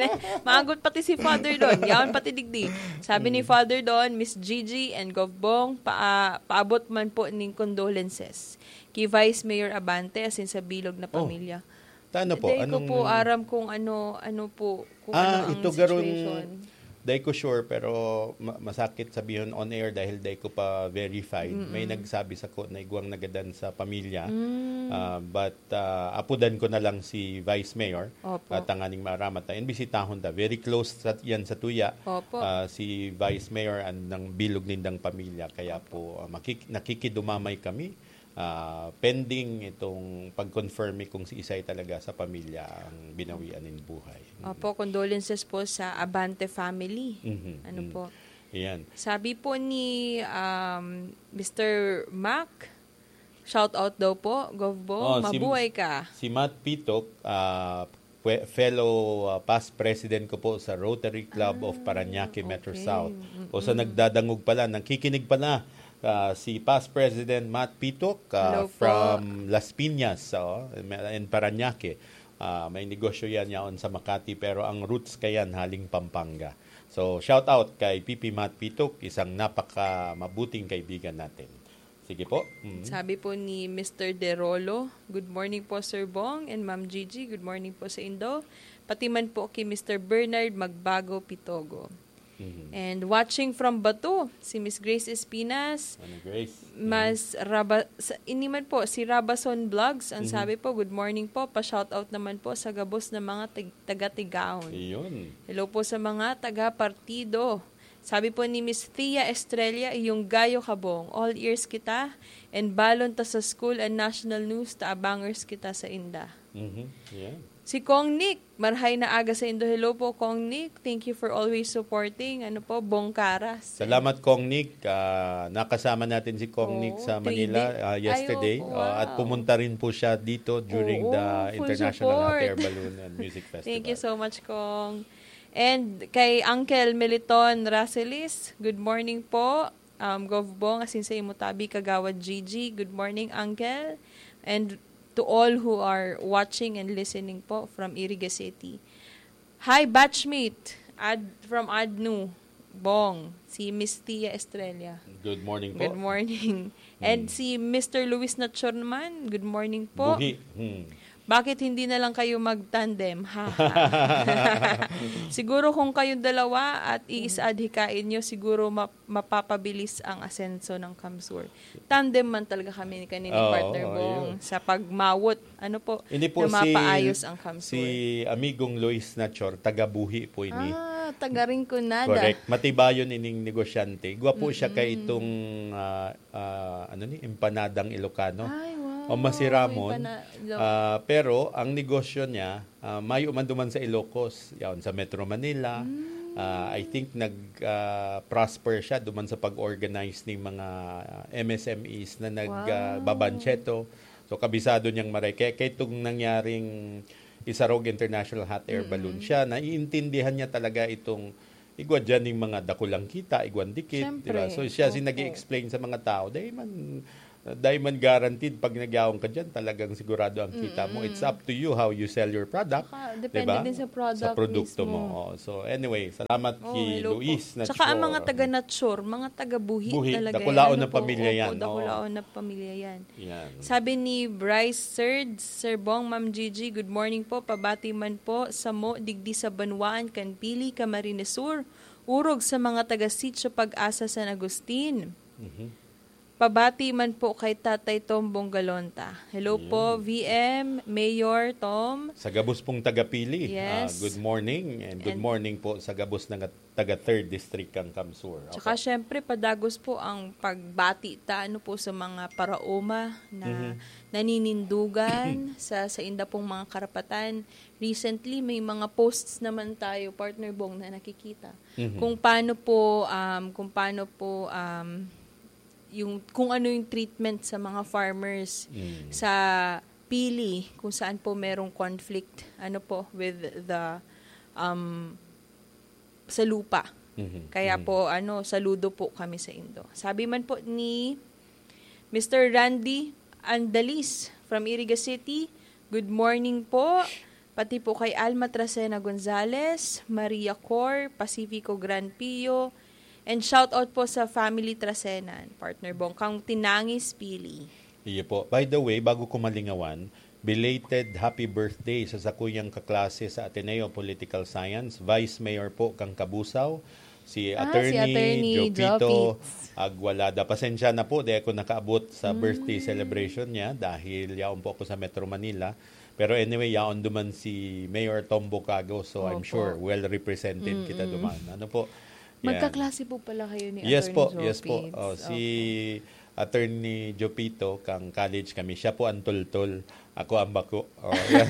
Maagot pati si Father Don. Yaon pati digdi. Sabi ni Mm. Father Don, Miss Gigi and Gov Bong, pa, paabot man po ning condolences kay Vice Mayor Abante asin sa bilog na Oh. pamilya. Tano po, Dai ko anong po aram kung ano, ano po, kung Ah, ano ang ito garong situation. Dai ko sure, pero ma-, masakit sabihon on air dahil dai ko pa verified. May Mm-mm. nagsabi sako na igwang nagadan sa pamilya. Mm. Ah, but, ah, apudan ko na lang si Vice Mayor, Opo. ah, tanganing maaramat ta. Imbisitahon ta. Very close sa, yan sa tuya. Opo. Ah, si Vice Mayor and ng bilog nindang pamilya. Kaya po, ah, makik-, nakikidumamay kami. Ah, pending itong pag-confirm kung si isay talaga sa pamilya ang binawian nin buhay. Mm. Opo, condolences po sa Abante family. Mhm, Ano mm. po? Ayan. Sabi po ni, um, Mister Mac, shout out daw po, Gov Bong, Oh, si, mabuhay ka. Si Matt Pitok, ah, pwe-, fellow, ah, past president ko po sa Rotary Club of Ah, Parañaque Metro okay. South. O sa Mm-mm. nagdadangog pala, nakikinig pala, ah, si past President Matt Pitok, ah, Hello po. from Las Piñas, oh, in Parañaque. Ah, may negosyo yan yaon sa Makati, pero ang roots kayan haling Pampanga. So, shout out kay P P Matt Pitok, isang napaka mabuting kaibigan natin. Sige po. Mm. Sabi po ni Mister Derolo, "Good morning po, Sir Bong and Ma'am Gigi. Good morning po sa indo. Pati man po kay Mister Bernard Magbago Pitogo." Mhm. And watching from Bato, si Miss Grace Espinas, Ano, Grace? Mas Raba-, sa, ini man po, si Rabason Vlogs, ang Mhm. sabi po, "Good morning po, pa-shoutout naman po sa gabos na mga tig-, taga-Tigaon." Iyon. Hello po sa mga taga-partido. Sabi po ni Miss Thea Estrella, "Iyong gayo kabong. All ears kita, and balon ta sa school and national news, ta abangers kita sa inda." Mhm. Yeah. Si Kong Nick, marhay na aga sa indo. Hello po, Kong Nick. Thank you for always supporting. Ano po, Bongkaras. Salamat, Kong Nick. Ah, nakasama natin si Kong Oo, Nick sa three Manila, day. ah, Ay, yesterday. opo, Ah, at wow. Pumunta rin po siya dito during Oo, the full International Hot support. Air Balloon and Music Festival. Thank you so much, Kong. And kay Uncle Meliton Racelis, good morning po. Um, Gov Bong, asin sa imo tabi, Kagawad Gigi. Good morning, Uncle. And to all who are watching and listening po from Iriga City. Hi, batchmate. Ad, from Adnu, Bong, si Miss Tia Estrella. Good morning po. Good morning. And Hmm. si Mister Luis Nachor naman, good morning po. Buhi. Hmm. Bakit hindi na lang kayo mag-tandem? Ha, ha. Siguro kung kayong dalawa at iisa-, adhikain nyo, siguro ma-, mapapabilis ang asenso ng Kamsur. Tandem man talaga kami ni kanini, Oo, partner Bong, ayun. sa pagmawot, ano po, Hindi po, na si, mapaayos ang Kamsur. si Amigong Luis Nachor, taga Buhi po ini. Ah, taga Rinconada. Correct. Matibayon ining negosyante. Igwa po siya kay Mm-mm. itong, ah, ah, ano ni, empanadang Ilocano. Ay, wow. O masiramon. Empana-, lo- Ah, pero ang negosyo niya, ah, mayo man duman sa Ilocos, yaon sa Metro Manila. Mm. Ah, I think nag, ah, prosper siya duman sa pag-organize ning mga, ah, M S M Es na nag, Wow. ah, babancheto. So, kabisado niyang maray. Kaya, kaya itong nangyaring Isarog International Hot Air Balloon, siya, naiintindihan niya talaga itong igwa dyan yung mga dakulang kita, igwan dikit, di ba? Siyempre. So, siya si Opo. nag-explain sa mga tao, dahil man, dahil man guaranteed, pag nagyawon ka dyan, talagang sigurado ang kita mo. It's up to you how you sell your product, Saka, di depende ba? din sa product produkto mismo. mo. Oh, so, anyway, salamat Oh, kay hello po. Luis na Tsaka ang mga taga-nature, mga taga-buhi Buhi, talaga. dakulaon Ano ng po? Pamilya Opo, yan, oo. Dakulaon ng Pamilya yan. Yan. Sabi ni Bryce Third, "Sir Bong, Ma'am Gigi, good morning po. Pabati man po samo digdi sa banwaan kan Pili, Camarines Sur. Urog sa mga taga Sitio Pag-asa San Agustin. Mhm. Pabati man po kay Tatay Tom Bongalonta." Hello po, Yun. V M, Mayor Tom. Sa gabos pong taga-Pili, Yes. ah, good morning and good And morning po sa gabos ng taga-third District kang CamSur. Tsaka Opo. syempre, padagos po ang pagbati ta ano po sa mga paraoma na Mhm. naninindugan sa sa inda pong mga karapatan. Recently, may mga posts naman tayo, Partner Bong, na nakikita. Mhm. Kung paano po, um, kung paano po, um, yung, kung ano yung treatment sa mga farmers Mm. sa Pili, kung saan po merong conflict, ano po, with the, um, sa lupa. Mhm. Kaya Mhm. po, ano, saludo po kami sa indo. Sabi man po ni Mister Randy Andalis from Iriga City, "Good morning po. Pati po kay Alma Tracena Gonzalez, Maria Cor, Pacifico Gran Pio, and shout out po sa family Tracena, Partner Bong, kang Tinangis Pili." Iyo po. By the way, bago ko malingawan, belated happy birthday sa sakuyang kaklase sa Ateneo Political Science, Vice Mayor po kang Cabusao, si Ah, si Attorney Attorney Jopito Jopitz. Agualada. Pasensya na po, di ako nakaabot sa birthday Mm. celebration niya dahil yaon po ako sa Metro Manila. Pero anyway, yaon duman si Mayor Tom Bocago, so I'm Opo. sure well represented kita Mm-mm. duman. Ano po? Yan. Magkaklase po pala kayo ni Yes po, Attorney yes po. Jopitz. Oh, si Opo. Attorney Jopito, kang college kami. Siya po ang tultol. Ako ang bako. Oh, yan.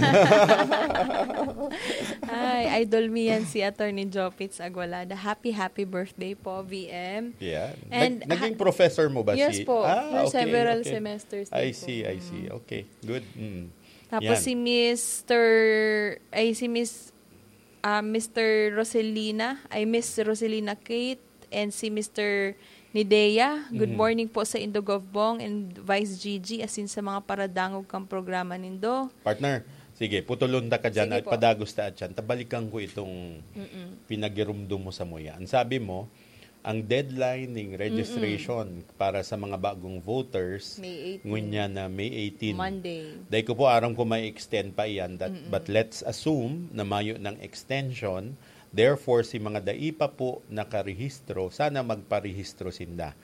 Ay, idol mi yan si Attorney Jopitz Agualada. Happy, happy birthday po, V M. Yeah. And Nag- naging ha- professor mo ba Yes si... po. Ah, For okay, several okay. semesters I din po. see, I Mm. see. Okay, good. Mm. Tapos Yan. si Mister, ay si Miss, ah, Mister Roselina, ay Miss Roselina Kate, and si Mister Nidea. Good Mhm. morning po sa Indo Govbong and Vice Gigi, asin sa mga paradangog kang programa nindo. Partner, sige, putulon ta ka dyan Sige at po. padagos ta dyan. Tabalikan ko itong Mm-mm. pinagirumdum mo sa muya. Ang sabi mo, ang deadline ning registration para sa mga bagong voters, May eighteen. ngunya na May eighteen. Monday. Dahil ko po aram ko may extend pa iyan, that, but let's assume na mayo ng extension. Therefore, si mga dai pa po nakarehistro, sana magparehistro sinda.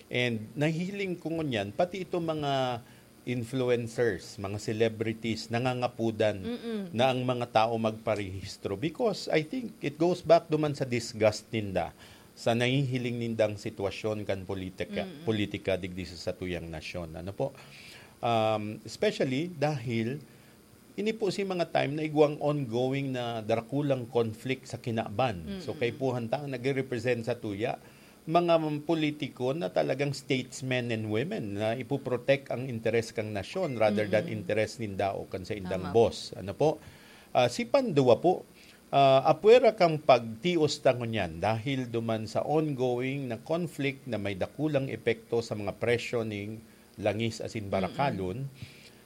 And nahiling ko ngunyan, pati itong mga influencers, mga celebrities, nangangapudan Mm-mm. na ang mga tao magparehistro. Because I think it goes back duman sa disgust ninda sa nahihiling nindang sitwasyon kan politika, Mm-mm. politika digdi sa satuyang nasyon. Ano po? Um, especially dahil ini po si mga time na igwang ongoing na drakulang conflict sa kinaban. So, Mm-mm. kaipuhan ta ang nagre-represent sa tuya, mga politiko na talagang statesmen and women na ipoprotect ang interes kang nasyon rather than Mm-mm. interes ninda o kan sa indang Tama. Boss. Ano po? Ah, si Pandua po, ah, apwera kang pagtios ta ngunyan dahil duman sa ongoing na conflict na may dakulang epekto sa mga presyo ning langis asin barakalon,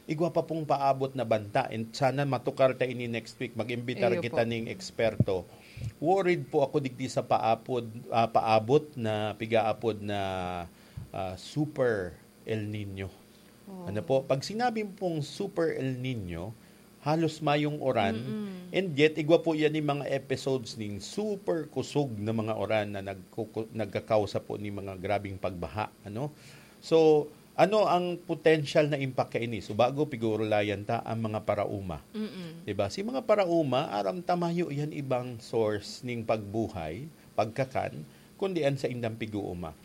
igwa pa pong paabot na banta. And sana matukar ta ini next week. Mag-imbitar Iyo kita po. ning eksperto. Worried po ako digdi sa paapod, ah, paabot na, pigaapod na, ah, super El Nino. Oh. Ano po? Pag sinabi pong super El Nino, halos mayong uran, Mm-mm. and yet igwa po yan yung mga episodes ning super kusog na mga uran na nagkuku- nagkakausa po ni mga grabing pagbaha, ano? So, ano ang potential na impact kaini? So, bago pigurulayan ta ang mga parauma. Mm-mm. Diba? Si mga parauma, aram ta mayo yan ibang source ning pagbuhay, pagkakan, kundi an sa indang piguuma.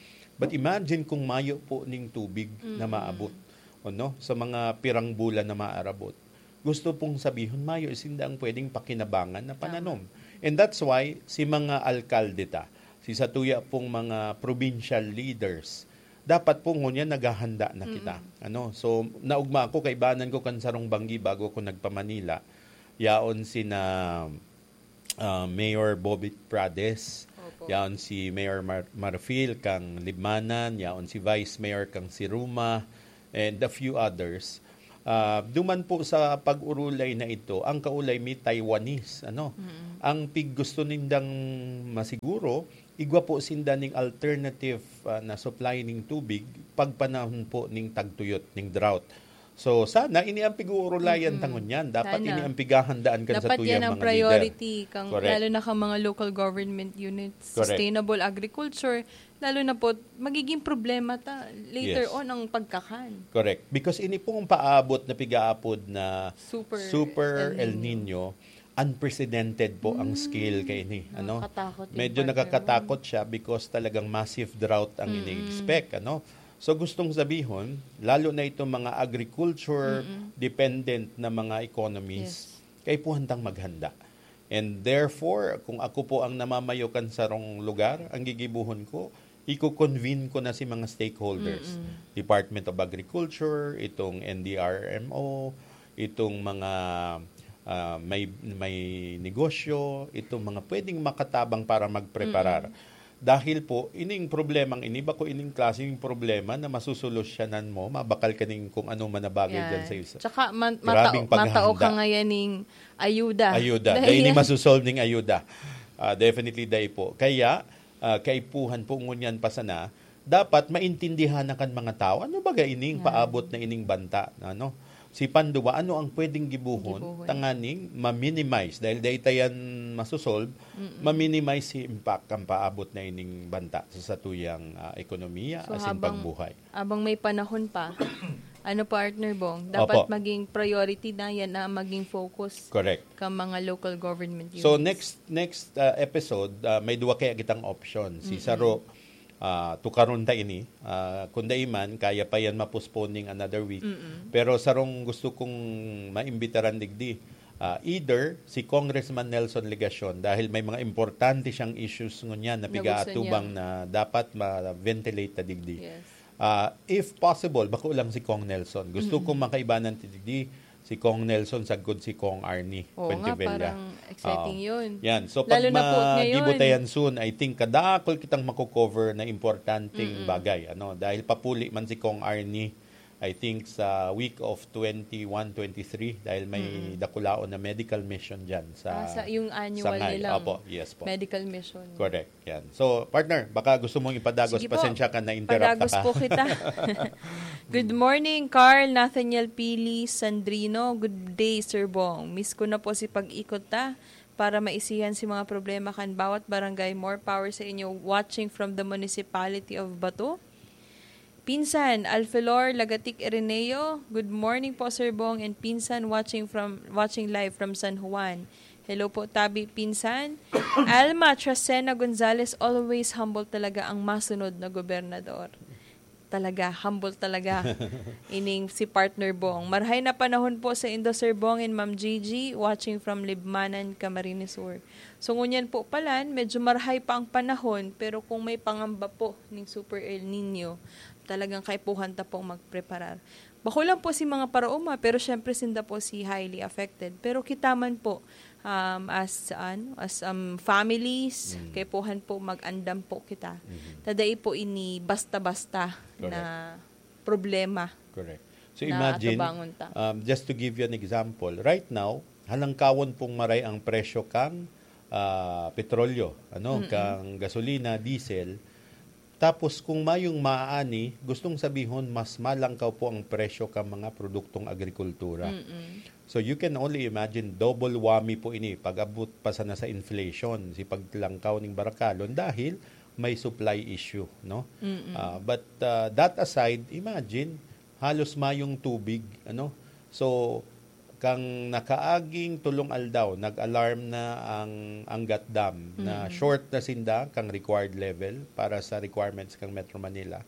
But imagine kung mayo po ning tubig na Mm. maabot, o no? Sa mga pirang bulan na maarabot. Gusto pong sabihon, mayo sinda ang pwedeng pakinabangan na Tama. pananom. And that's why si mga alkalde ta, si satuya pong mga provincial leaders, dapat po ngunyan naghahanda na kita. Ano? So, naugma ako, kaibanan ko kan sarong banggi bago ako nagpa-Manila. Yaon sina, ah, Mayor Bobby Prades, Opo. yaon si Mayor Mar-, Marfil kang Libmanan, yaon si Vice Mayor kang Siruma, and a few others. Ah, duman po sa pag-urulay na ito, ang kaulay mi Taiwanese, ano? Ang pig gusto nindang masiguro, igwa po sinda ning alternative, ah, na supply ning tubig pag panahon po ning tagtuyot, ning drought. So, sana ini ang pig-uurulayan ta ngunyan. Dapat Sana. ini ang pighahandaan kan Dapat satuyang yan ang mga priority, leader. Kang, Correct. lalo na kang mga local government units, Correct. sustainable agriculture, lalo na po, magiging problema ta later Yes. on ang pagkakan. Correct. Because ini pong paabot na pigaapod na Super super El El Nino. Nino, unprecedented po ang scale kay ini, ano? Nakakatakot yung Medyo partner nakakatakot mo. siya because talagang massive drought ang Mm-mm. ini-expect, ano? So, gustong sabihon, lalo na itong mga agriculture Mm-mm. dependent na mga economies, Yes. kaipuhan tang maghanda. And therefore, kung ako po ang namamayo kan sarong lugar, ang gigibuhon ko, iko-convene ko na si mga stakeholders. Mm-mm. Department of Agriculture, itong N D R M O, itong mga, ah, may, may negosyo, itong mga pwedeng makatabang para magpreparar. Mm-mm. Dahil po, ining problemang ini, bako ining klaseng problema na masusolusyonan mo, mabakal ka ning kung ano man na bagay Yan. dyan sa isa. Tsaka man-, Grabing matao, matao ka paghahanda. ngayon ning ayuda. Ayuda. Dahil Dahil ini yan. masusolve ning ayuda. Ah, definitely, dai po. Kaya, ah, kaipuhan po ngunyan pa sana, dapat maintindihan na kan mga tao, ano baga ining Yan. paabot na ining banta? Ano? Si Panduwa, ano ang pwedeng gibuhon Gibuhon. tanganing ma-minimize? Dahil dai ta yan masusolve, Mm-mm. ma-minimize si impact kan paabot na ining banta sa satuyang, ah, ekonomiya So, asin habang, pagbuhay. habang may panahon pa, ano, Partner Bong, dapat Opo. maging priority na yan na maging focus Correct. ka mga local government So, units. next, next, ah, episode, ah, may duwa kaya kitang option. Si Mm-mm. Saro, ah, tukaron ta ini. Ah, kung dai man, kaya pa yan ma-postpone ning another week. Mm-mm. Pero sarong gusto kong maimbitaran digdi, ah, either si Congressman Nelson Legacion, dahil may mga importante siyang issues ngunyan na Na gusto pigaatubang niya. na dapat ma-ventilate ta digdi. Yes. Ah, if possible, bako lang si Cong Nelson. Gusto Mm-mm. kong makaibanan ti digdi, si Cong Nelson sagkod si Cong Arnie Oo nga, Fuentevella. parang exciting Oo. yun. Yan. So, Lalo pag na po ngayon. magibutayan soon, I think kadakol kitang mako-cover na importanteng Mm-mm. bagay. Ano? Dahil papuli man si Cong Arnie, I think sa week of twenty-one, twenty-three, dahil may Mm-mm. dakulaon na medical mission dyan sa, Ah, sa, yung annual sa Ngay. nilang Opo, yes po. medical mission. Correct. Yan. So, partner, baka gusto mong ipadagos, Sige po. pasensya ka, na-interrupt Padagos ka. po kita. Good morning, Carl, Nathaniel, Pili, Sandrino. Good day, Sir Bong. Miss ko na po si pag-ikot ta para maisihan si mga problema kan bawat barangay. More power sa inyo. Watching from the municipality of Bato. Pinsan, Alfelor Lagatic Ireneo, good morning po, Sir Bong and Pinsan, watching from, watching live from San Juan. Hello po, Tabi Pinsan. Alma Trasena Gonzalez, always humble talaga ang masunod na gobernador. Talaga, humble talaga. Ining si Partner Bong. Marhay na panahon po sa indo, Sir Bong and Ma'am Gigi, watching from Libmanan, Camarines Sur. So, ngunyan po palan, medyo marhay pa ang panahon, pero kung may pangamba po ning Super El Nino, talagang kaipuhan ta pong magpreparar. Bako lang po si mga paraoma, pero syempre sinda po si highly affected. Pero kita man po, um, as, ano, as, um, families, Mm. kaipuhan po mag-andam po kita. Mhm. Ta dai po ini basta-basta Correct. na problema Correct. So, na imagine, atubangon ta. um, just to give you an example, right now, halangkawon pong maray ang presyo kang, ah, petrolyo, ano, Mm-mm. kang gasolina, diesel. Tapos, kung mayong maaani, gustong sabihon, mas malangkaw po ang presyo kang mga produktong agrikultura. Mm-mm. So, you can only imagine, double whammy po ini, pag-abot pa sana sa inflation, si paglangkaw ning barakalon, dahil may supply issue, no? Mm-mm. Ah, but, ah, that aside, imagine, halos mayong tubig, ano? So, kang nakaaging tolong aldaw, nag-alarm na ang Angat Dam na Mm. short na sinda kang required level para sa requirements kang Metro Manila.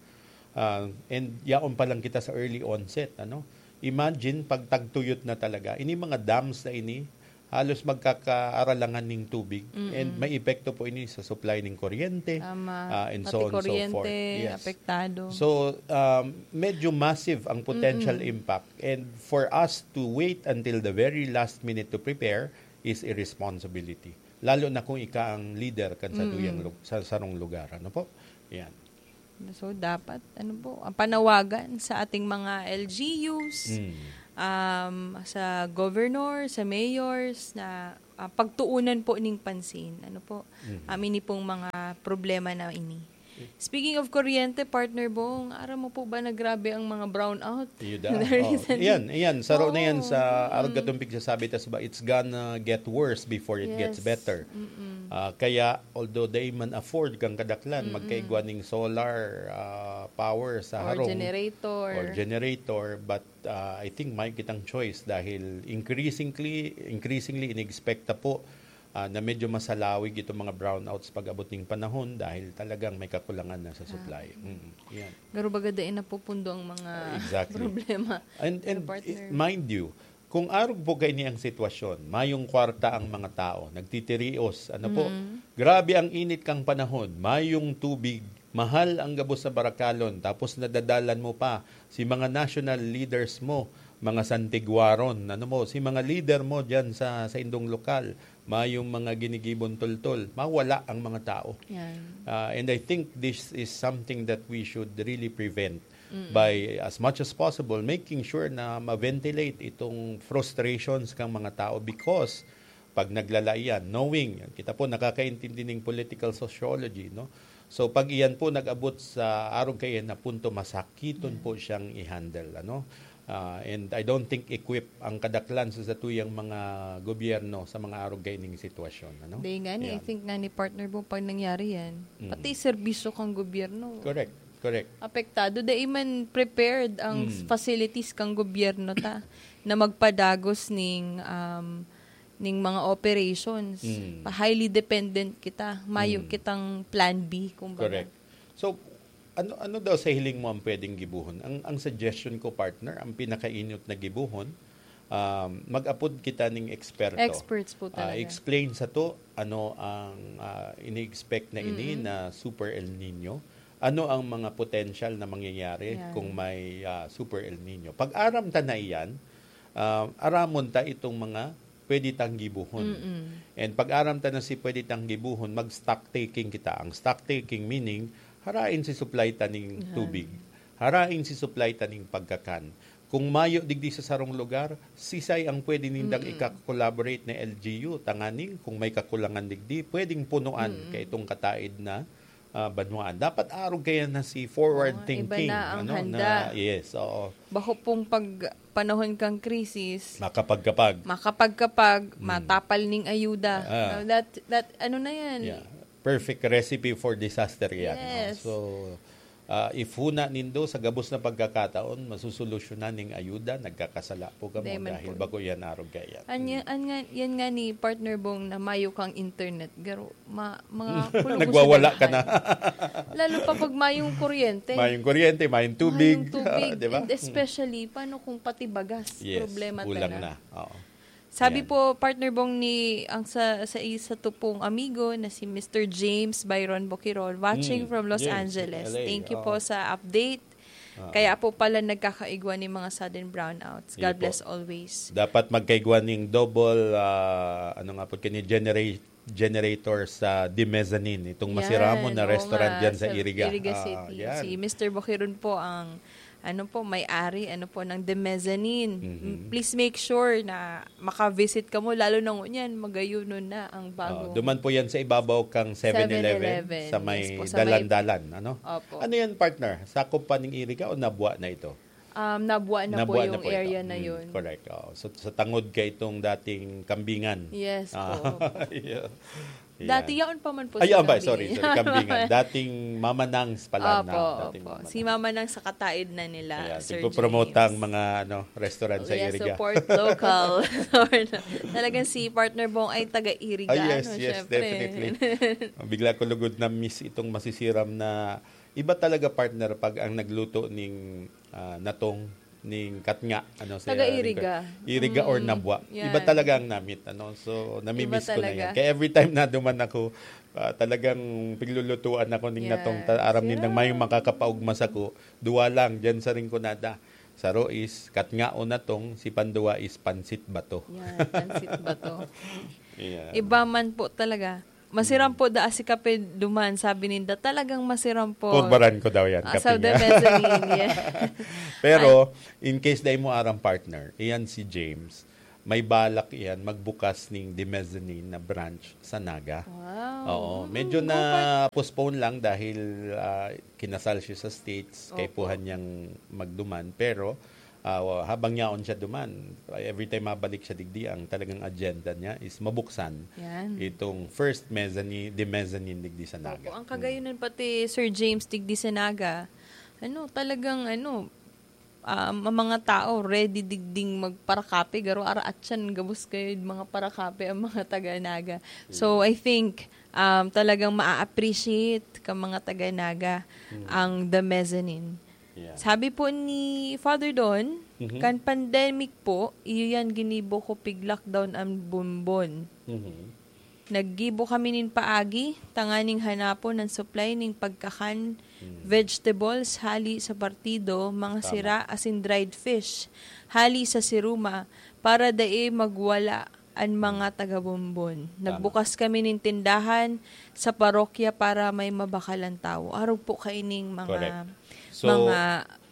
Ah, and yaon pa lang kita sa early onset, ano? Imagine, pag tagtuyot na talaga, ini mga dams na ini, halos magkakaaralangan ning tubig. Mm-mm. And may epekto po ini sa supply ning kuryente, Tama. ah, and Pati so on and so kuryente, forth. Yes. apektado. So, um, medyo massive ang potential Mm-mm. impact. And for us to wait until the very last minute to prepare is irresponsibility. Lalo na kung ika ang leader kan sa Mm-mm. duyang lu-, sa sarong lugar. Ano po? Yan. So, dapat, ano po, ang panawagan sa ating mga L G Us, Mm. um, sa governor, sa mayors, na, ah, pagtuunan po ning pansin. Ano po, Mhm. um, ini pong mga problema na ini. Speaking of kuryente, Partner Bong, aram mo po ba na grabe ang mga brownout? Iyo da. Oh, Recently. iyan, iyan. Saro na yan Oo. sa arog Mm. katong pigsasabi, tas ba, it's gonna get worse before it gets Yes. better. Mm-mm. Ah, kaya, although dai man afford kang kadaklan, Mm-mm. magkaigwa ning solar, ah, power sa Or harong generator. or generator, but, ah, I think may kitang choice dahil increasingly, increasingly, inexpect ta po, ah, na medyo masalawig itong mga brownouts pag-abot ning panahon dahil talagang may kakulangan na sa Ah. supply. Mm, yan. Garo baga dai napupundo ang mga Exactly. problema. And, Ano, and partner? i-, mind you, kung arog po kaini ang sitwasyon, mayong kwarta ang mga tao, nagtitirios, ano po, Mm. grabe ang init kang panahon, mayong tubig, mahal ang gabos sa barakalon, tapos nadadalan mo pa si mga national leaders mo, mga santiguaron, ano mo, si mga leader mo diyan sa, sa indong lokal, mayong mga ginigibong tultol, mawala ang mga tao. Yan. Ah, and I think this is something that we should really prevent Mm. by, as much as possible, making sure na ma-ventilate itong frustrations kang mga tao because pag naglala iyan, knowing, kita po, nakakaintindi ning political sociology, no? So, pag iyan po nag-abot sa arog kaiyan na punto, masakiton Mm. po siyang i-handle, ano? Ah, and I don't think equip ang kadaklan sa satuyang mga gobyerno sa mga arog kaining sitwasyon, ano? Dai nga ni, I Yan. think nga ni partner mo, pag nangyari yan, Mm. pati serbisyo kang gobyerno, Correct, correct. apektado. Dai man prepared ang Mm. facilities kang gobyerno ta na magpadagos ning, um, ning mga operations. Mm. Pa-, highly dependent kita. Mayo Mm. kitang plan B, kumbaga. Correct. So, ano, ano daw sa hiling mo ang pwedeng gibohon? Ang, ang suggestion ko, partner, ang pinakainot na gibohon, um, mag-apod kita ning eksperto. Experts po Ah, talaga. explain sato ano ang, ah, ini-expect na ini Mm-mm. na Super El Nino. Ano ang mga potential na mangyayari Yan. kung may, ah, Super El Nino? Pag aram ta na iyan, ah, aramon ta itong mga pwede tang gibohon. Mm-mm. And pag aram ta na si pwede tang gibohon, mag-stock taking kita. Ang stock taking meaning, harain si supply ta ning Yan. tubig. Harain si supply ta ning pagkakan. Kung mayo digdi sa sarong lugar, sisay ang pwede nindang Mm-mm. ika-collaborate na L G U? Tanganing kung may kakulangan digdi, pwedeng punuan Mm-mm. kaitong kataid na, ah, banwaan. Dapat arog kaya na si forward Oo, iba thinking, na ang ano, handa. na, yes, oo. Bako pong pag panahon kang krisis, Makapagkapag. makapagkapag, Mm. matapal ning ayuda. Ah. Now, that, that, ano na yan? Yeah. Perfect recipe for disaster yan, no? Yes. So, ah, if huna nindo sa gabos na pagkakataon, masusolusyonan ning ayuda, nagkakasala po kamo Dai man dahil po. bako yan arog kaya. An yan, Mm. an nga, yan nga ni partner Bong na mayo kang internet, garo, ma-, mga kulog sa Nagwawala ka daghan. na. Lalo pa pag mayong kuryente. Mayong kuryente, mayong tubig, Mayong tubig. ah, di ba? And Mm. especially, paano kung pati bagas? Yes, Problema kulang talaga. na. Oo. Sabi Yan. po, partner Bong, ni, ang sa, sa isa to pong amigo na si Mister James Byron Bokirol, watching Mm, from Los James, Angeles. L A, Thank you oo. po sa update. Ah. Kaya po pala nagkakaigwa ni mga sudden brownouts. Sige God po. bless always. Dapat magkaigwa ning double, ah, ano nga po, kini genera-, generator sa The Mezzanine. Itong masiramon Yan, na oo restaurant nga, dyan sa sa Iriga. Iriga Ah, City. yan. Si Mister Boquiron po ang, ano po, may-ari, ano po, ng The Mezzanine. Mhm. Please make sure na maka-visit kamo, lalo na ngunyan, magayunon na ang Ah, bago. duman po yan sa ibabaw kang Seven Eleven, Seven Eleven, sa may yes po, sa may dalan-dalan, ano? Opo. Ano yan, partner? Sakop pa ning Iriga o nabwa na ito? Um, nabwa na po Nabwa na yung po ito. area na Mm, yun. correct. Oo. So, sa tangod kay itong dating Kambingan. Yes Ah, po. yeah. Dati Yan. yaon pa man po Ay, si yaon pa, Kambingan. sorry, sorry, Kambingan. Dating Mama Nangs pala Opo, na, dating opo. Mama Si Nangs. Mama Nangs sa kataid na nila, Ayan, Sir tigpo-promote James. ang mga, ano, restaurant sa Yes, Iriga. support local. Talagang si Partner Bong ay taga-Iriga, Ah, yes, no? yes, Siyempre. definitely. Bigla ko lugod na miss itong masisiram na iba talaga, partner, pag ang nagluto ning, ah, natong, ning katnga, ano, sa Taga Iriga. Iriga or Mm, Nabua. yan. Iba talaga ang namit, ano. So, namimiss ko na talaga. Yan. Kaya every time na duman ako, ah, talagang piglulutuan ako ning Yan. natong ta- aram nindang Yeah. mayong makakapaugma sako. Duwa lang diyan sa Rinconada. Saro is katngaon natong, si panduwa is pansit bato. Yan, pansit bato. Ayan. Iba man po talaga. Masiram po da si kape duman, sabi ninda. Talagang masiram po. Kurbaran ko daw yan, Ah, sa kape the nga. mezzanine, yeah. Pero, in case dai mo aram, partner, iyan si James, may balak iyan magbukas ning the mezzanine na branch sa Naga. Wow. Oo. Medyo Mm, na dapat. Postpone lang dahil ah, kinasal siya sa States, Opo. kaipuhan niyang magduman. Pero ah, habang yaon siya duman, every time mabalik siya digdi, ang talagang agenda niya is mabuksan Yan. itong first mezzanine, the mezzanine digdi sa Naga. Opo, ang kagayunan pati Sir James digdi sa Naga, ano, talagang ano, um, ang mga tao ready digding magparakape, garo ara atyan gabos kayo mga parakape ang mga taga Naga. So, I think um, talagang ma-appreciate ka mga taga Naga ang the mezzanine. Yeah. Sabi po ni Father Don, Mhm. kan pandemic po, iyo yan ginibo ko pig lockdown ang bonbon. Mhm. Naggibo kami nin paagi, tanganing hanapon ang supply ning pagkakan, Mm. vegetables, hali sa partido, mga Tama. sira, asin dried fish, hali sa siruma, para dai magwala an mga taga-Bombon. Nagbukas kami nin tindahan sa parokya para may mabakalan tawo. Arog po kaining mga Correct. So, mga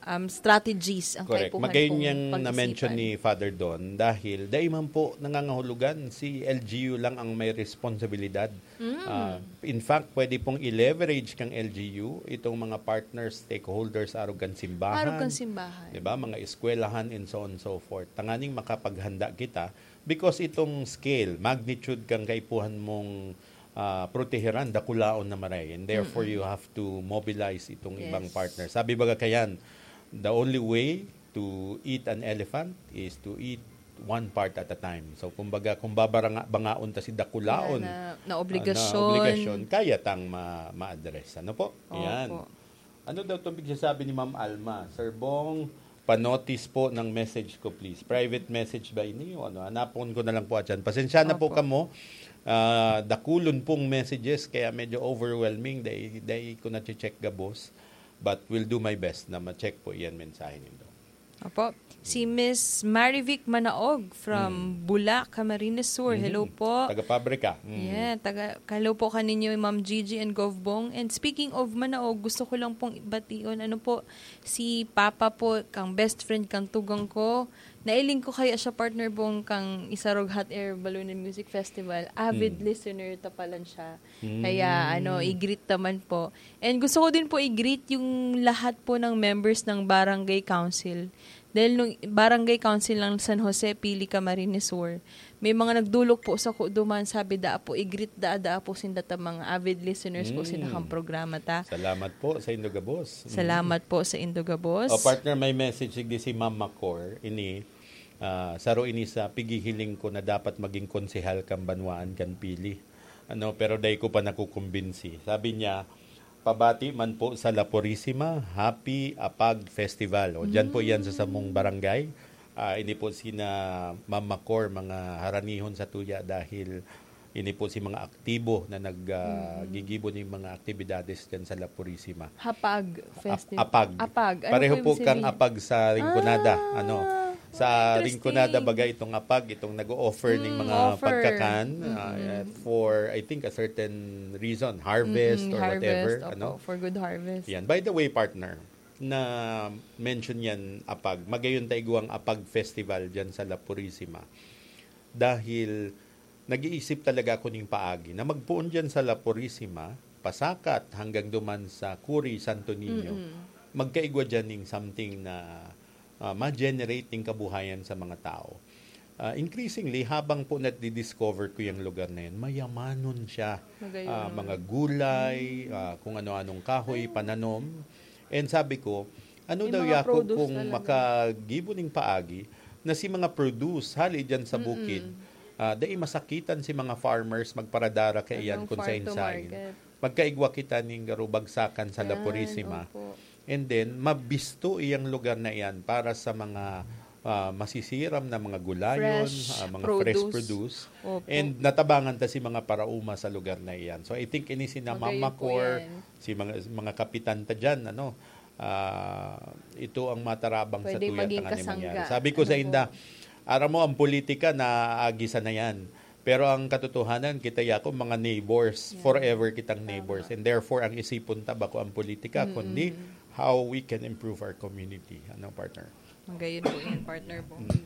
um, strategies ang Correct. kaipuhan Magayon pong niyang pag-isipan. na-mention ni Father Don dahil dai man po nangangahulugan si L G U lang ang may responsibilidad. Mm. Ah, in fact, pwede pong i-leverage kang L G U itong mga partners, stakeholders, arog kan simbahan. Arog kan simbahan. Diba? Mga eskwelahan and so on and so forth. Tanganing makapaghanda kita because itong scale, magnitude kang kaipuhan mong ah, proteheran, dakulaon na maray. And therefore, Mm-mm. you have to mobilize itong Yes. ibang partner. Sabi baga kayan, the only way to eat an elephant is to eat one part at a time. So, kumbaga, kung babaranga, bangaon ta si dakulaon, Na, na, na ah, obligasyon. na obligasyon, kaya tang ma- ma-address. Ano po? Opo. Yan. Ano daw itong pigsasabi ni Ma'am Alma? Sir Bong, panotis po ng message ko, please. Private message ba ini? O ano? Hanapon ko na lang po, atyan. Pasensya na po Opo. Kamo. Ah, dakulon pong messages, kaya medyo overwhelming. Dai, dai ko na-check gabos. But will do my best na ma-check po iyan mensahe nindo. Opo. Si Miss Marivic Manaog from Mm. Bula, Camarines Sur. Mhm. Hello po. Taga-pabrika. Mm. Yeah, taga, hello po kaninyo, Ma'am Gigi and Govbong. And speaking of Manaog, gusto ko lang pong bation, ano po, si Papa po, kang best friend, kang tugang ko. Nailing ko kaya siya, partner Bong, kang Isarog Hot Air Balloon and Music Festival. Avid Mm. listener ta palan siya. Mm. Kaya, ano, i-greet naman po. And gusto ko din po i-greet yung lahat po ng members ng Barangay Council. Dahil nung Barangay Council ng San Jose, Pili, Camarines Sur, may mga nagdulok po sa kuduman, sabi, "Daa po, i-greet daa, daa po sinda ta mga avid listeners po Mm. sinda kang programa ta." Salamat po sa indo gabos. Mm. Salamat po sa indo gabos. O, partner, may message digdi si Ma'am Macor. Ini, ah, saro ini sa pighihiling ko na dapat maging konsehal kan banwaan kan Pili. Ano, pero dai ko pa nakukumbinsi. Sabi niya, "Pabati man po sa La Purisima, Happy Apag Festival." O, diyan po yan sa samong barangay. Ah, ini po sina Ma'am Macor, mga haranihon sa tuya dahil ini po si mga aktibo na nag, ah, gigibo ning mga aktibidades diyan sa La Purisima. Hapag Ap- Festival. Apag. Apag. Ano Pareho po po yung kang sabihin? apag sa Rinconada. Ah, Ano? Sa interesting. Rinconada, baga itong apag, itong nag-o-offer ng Mm, mga offer. pagkakan Mm-mm. ah, for, I think, a certain reason. Harvest Mm-mm, or harvest, whatever. Opo, Ano? for good harvest. Yan. By the way, partner, na mention yan, apag. Magayon ta igwang apag festival dyan sa La Purisima. Dahil nag-iisip talaga ako ning paagi na magpoon dyan sa La Purisima, pasakat hanggang duman sa Kuri Santo Niño, Mm-mm. magkaigwa dyan ning something na ah, ma-generate ning kabuhayan sa mga tao. Ah, increasingly, habang po nadi-discover ko yung lugar na yun, mayamanon siya. Magayon. Ah, mga gulay, ah, kung ano-anong kahoy, pananom. And sabi ko, ano May daw mga yako produce kung talaga. Makagibo ning paagi na si mga produce hali dyan sa Mm-mm. bukid, ah, dai masakitan si mga farmers magparadara kaiyan Anong kung farm to sain-sain. Market? Magkaigwa kita ning garo bagsakan sa La Yan, Purisima. Opo. And then, mabisto iyang lugar na iyan para sa mga, ah, masisiram na mga gulayon, Fresh ah, mga fresh produce. produce. Opo. And natabangan ta si mga paraoma sa lugar na iyan. So, I think ini si Magayon po Namamakor, yan. si mga, mga kapitan ta dyan, ano, ah, ito ang matarabang sa Pwede tuya maging tanganing kasangga. mangyari. Sabi ko Ano sa po? inda, "Aram mo, ang politika na agi sa na yan." Pero ang katotohanan, kita yako mga neighbors. Yeah. Forever kitang Tama. neighbors. And therefore, ang isipon ta bako ang politika, Mm-mm. kundi how we can improve our community. Ano, partner? Magayon po yan, partner Bong. Mm.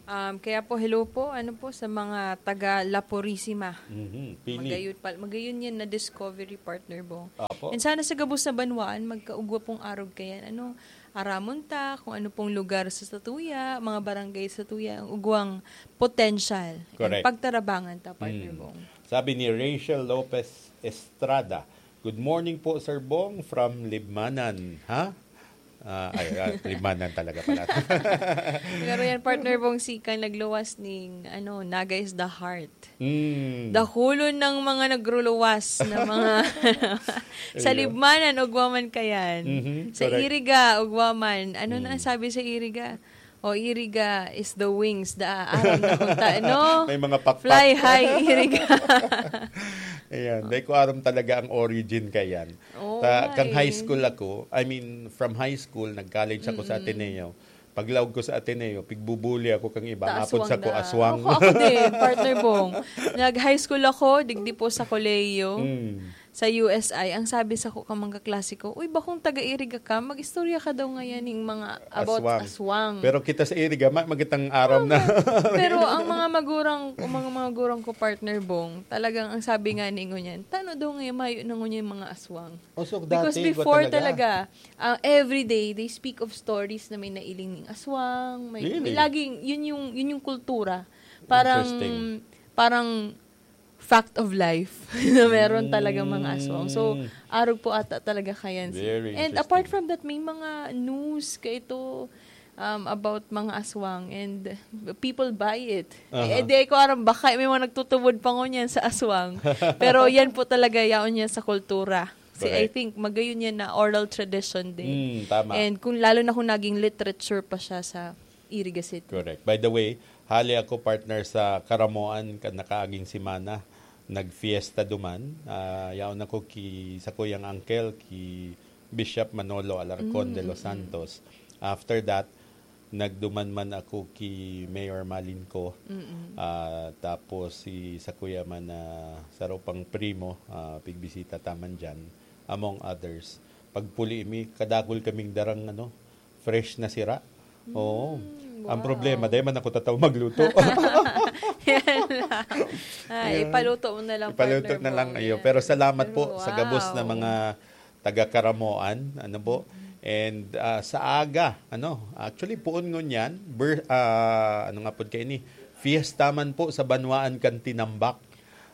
Um, kaya po, hello po, ano po, sa mga taga La Purisima. Mhm. Pili. Magayon, pa, magayon yan na discovery, partner Bong. Apo. And sana sa gabos na banwaan, magkaugwa pong arog kayan. Ano, aramon ta kung ano pong lugar sa satuya, mga barangay sa satuya, ang ugwang potential. And Correct. pagtarabangan ta, partner Mm. Bong. Sabi ni Rachel Lopez Estrada, "Good morning po, Sir Bong, from Libmanan." Ha? Ah, ay, ah, Libmanan talaga pala. Pero yan, partner Bong, si kang nagluwas ning, ano, Naga is the heart. Mm. Dahulon ng mga nagruluwas na mga sa Ayun. Libmanan, ugwa man kayan. Mhm, Sa correct. Iriga, ugwa man. Ano na Mm. ang sabi sa Iriga? O, Iriga is the wings, da, aram na kung ta-, no? May mga pakpak. Fly high, Iriga. Ayan, dai ko aram talaga ang origin kayan. Oo Ta-, nga kang high eh. school ako, I mean, from high school, nag-college ako sa Mm-mm. Ateneo. Paglaog ko sa Ateneo, pigbubuli ako kang iba. Ta Mapod aswang sa ko, na. aswang. Ako, ako din, partner Bong. Nag-high school ako, digdi po sa kolehiyo, Mm. sa U S I. Ang sabi sa ko, ka mga klase ko, "Uy, bakong taga-Iriga ka? Mag-istorya ka daw ngayon ng mga about Aswang. aswang." Pero kita sa Iriga, ma-, magitang aram Oo na. nga. Pero ang mga magurang, ang mga magurang ko, partner Bong, talagang ang sabi nga ni ngunyan, "Tano daw ngayon mayo na ngunyan yung mga aswang?" Oh, so Because dati, iba before talaga. talaga, ah, every day, they speak of stories na may nailing ning aswang, may, may Really? laging, yun yung, yun yung kultura. Parang, Interesting. parang fact of life na meron talaga mga aswang. So, Mm. arog po ata talaga kayan si Very And apart interesting. from that, may mga news ka ito, um, about mga aswang and people buy it. Aha. Eh, di ko aram, baka may mga nagtutubod pa ngunyan sa aswang. Pero yan po talaga, yaon yan sa kultura. Si, I Correct. think, magayon yan na oral tradition din. Mm, tama. And kung, lalo na kung naging literature pa siya sa Iriga City. Correct. By the way, hali ako, partner, sa Karamoan kan nakaaging semana. Nagfiesta duman. Ah, yaon ako ki, sa kuyang uncle, ki Bishop Manolo Alarcon de los Mm, mm. Santos. After that, nagduman man ako ki Mayor Malinco. Mm-mm. Ah, tapos si, sa kuya man na saro pang primo, ah, pigbisita ta man dyan, among others. Pagpuli mi, kadakul kaming darang, ano, fresh na sira. Oo. Mm, Ang wow. problema, dahil man ako tataw magluto. Yan lang. Ay, Ayan. ipaluto mo na lang, Ipaluto partner na lang, Bong. ayo. Yan. Pero salamat Pero po sa gabos na wow. mga taga-Karamoan, ano po. Mm. And, ah, sa aga, ano, actually, poon ngunyan, ber-, ah, ano nga po kayo ni, fiesta man po sa Banwaan kan Tinambak.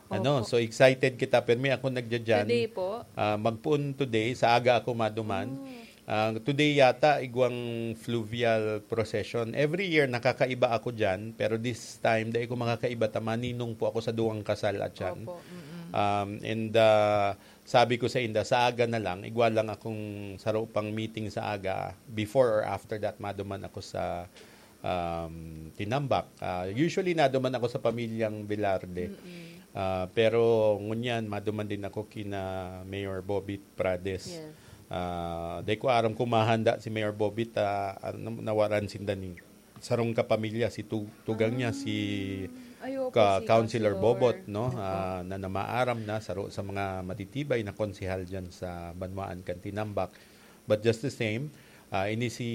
Ano, Opo. so excited kita, permi ako nagdyan. Today po? Ah, magpoon today, sa aga ako maduman. Mm. Ah, today yata, igwang fluvial procession. Every year, nakakaiba ako dyan, pero this time, dai ko makakaiba ta maninong po ako sa duwang kasal at yan. Opo, mm-mm. Um, and, ah, sabi ko sa inda, sa aga na lang, igwa lang akong saro pang meeting sa aga. Before or after that, maduman ako sa, um, Tinambak. Ah, usually, naduman ako sa pamilyang Velarde. Mm-mm. Ah, pero ngunyan, maduman din ako kina Mayor Bobby Prades. Yes. Ah, dai ko aram kung mahanda si Mayor Bobby ta, ah, na-, nawaran sinda ni sarong kapamilya, si tu-, tugang niya, si Mm. Ay, opo, ka-, si Councilor Councilor. Bobot, no? Opo. Ah, na namaaram na, saro sa mga matitibay na konsehal dyan sa Banwaan kan Tinambak. But just the same, ah, ini si,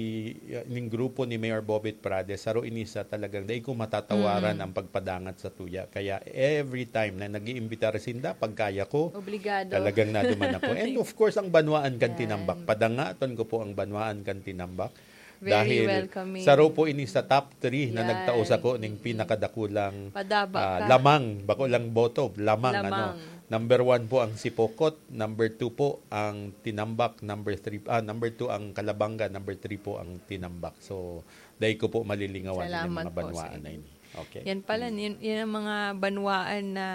ining grupo ni Mayor Bobet Prades, saro ini sa talagang dai ko matatawaran Mm. ang pagpadangat sa tuya. Kaya every time na nag-iimbitar sinda, pag kaya ko, Obligado. talagang naduman ako. And of course, ang Banwaan kan Yan. Tinambak. Padangaton ko po ang Banwaan kan Tinambak. Very Dahil welcoming. saro po ini sa top three na Yan. nagtao sako ning Mm. pinakadakulang, Padaba ah, ka. lamang, bako lang boto, lamang, Lamang. ano. Number one po ang Sipokot, number two po ang Tinambak, number three, ah, number two ang Kalabanga, number three po ang Tinambak. So, dai ko po malilingawan ang Salamat mga po sa banwaan inyo. na ini. Okay. Yan pala, Mm. yun, yun ang mga banwaan na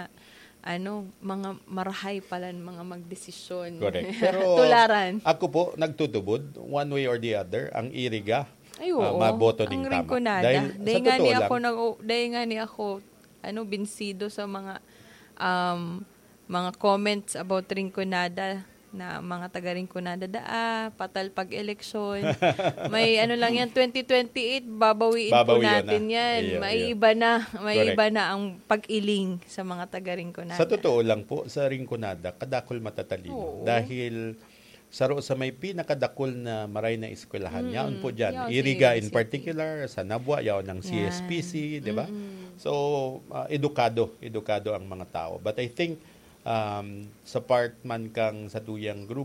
ano, mga marahay palan mga magdesisyon. Correct. Pero Tularan. ako po, nagtutubod, one way or the other, ang Iriga, Ay, ah, oo. maboto ning Ang tama. Rinconada. Dahil, Dahil sa nga ni totoo ako, lang, nag, dahil nga ni ako, ano, binsido sa mga, um, mga comments about Rinconada na mga taga Rinconada daa, patal pag-eleksyon. May ano lang yan, twenty twenty-eight, babawiin po Babawion natin na. yan. Iyo, May iyo. iba na, may Correct. iba na ang pag-iling sa mga taga Rinconada. Sa totoo lang po, sa Rinconada, kadakol matatalino. Oo. Dahil saro sa may pinakadakol na maray na eskwelahan, Mm, yaon po dyan. yaon sa Iriga Iriga in City. particular, sa Nabua, yaon ng Yan. C S P C, di ba? Mm-mm. So, ah, edukado, edukado ang mga tao. But I think, um, sa part man kang sa tuyang grupo,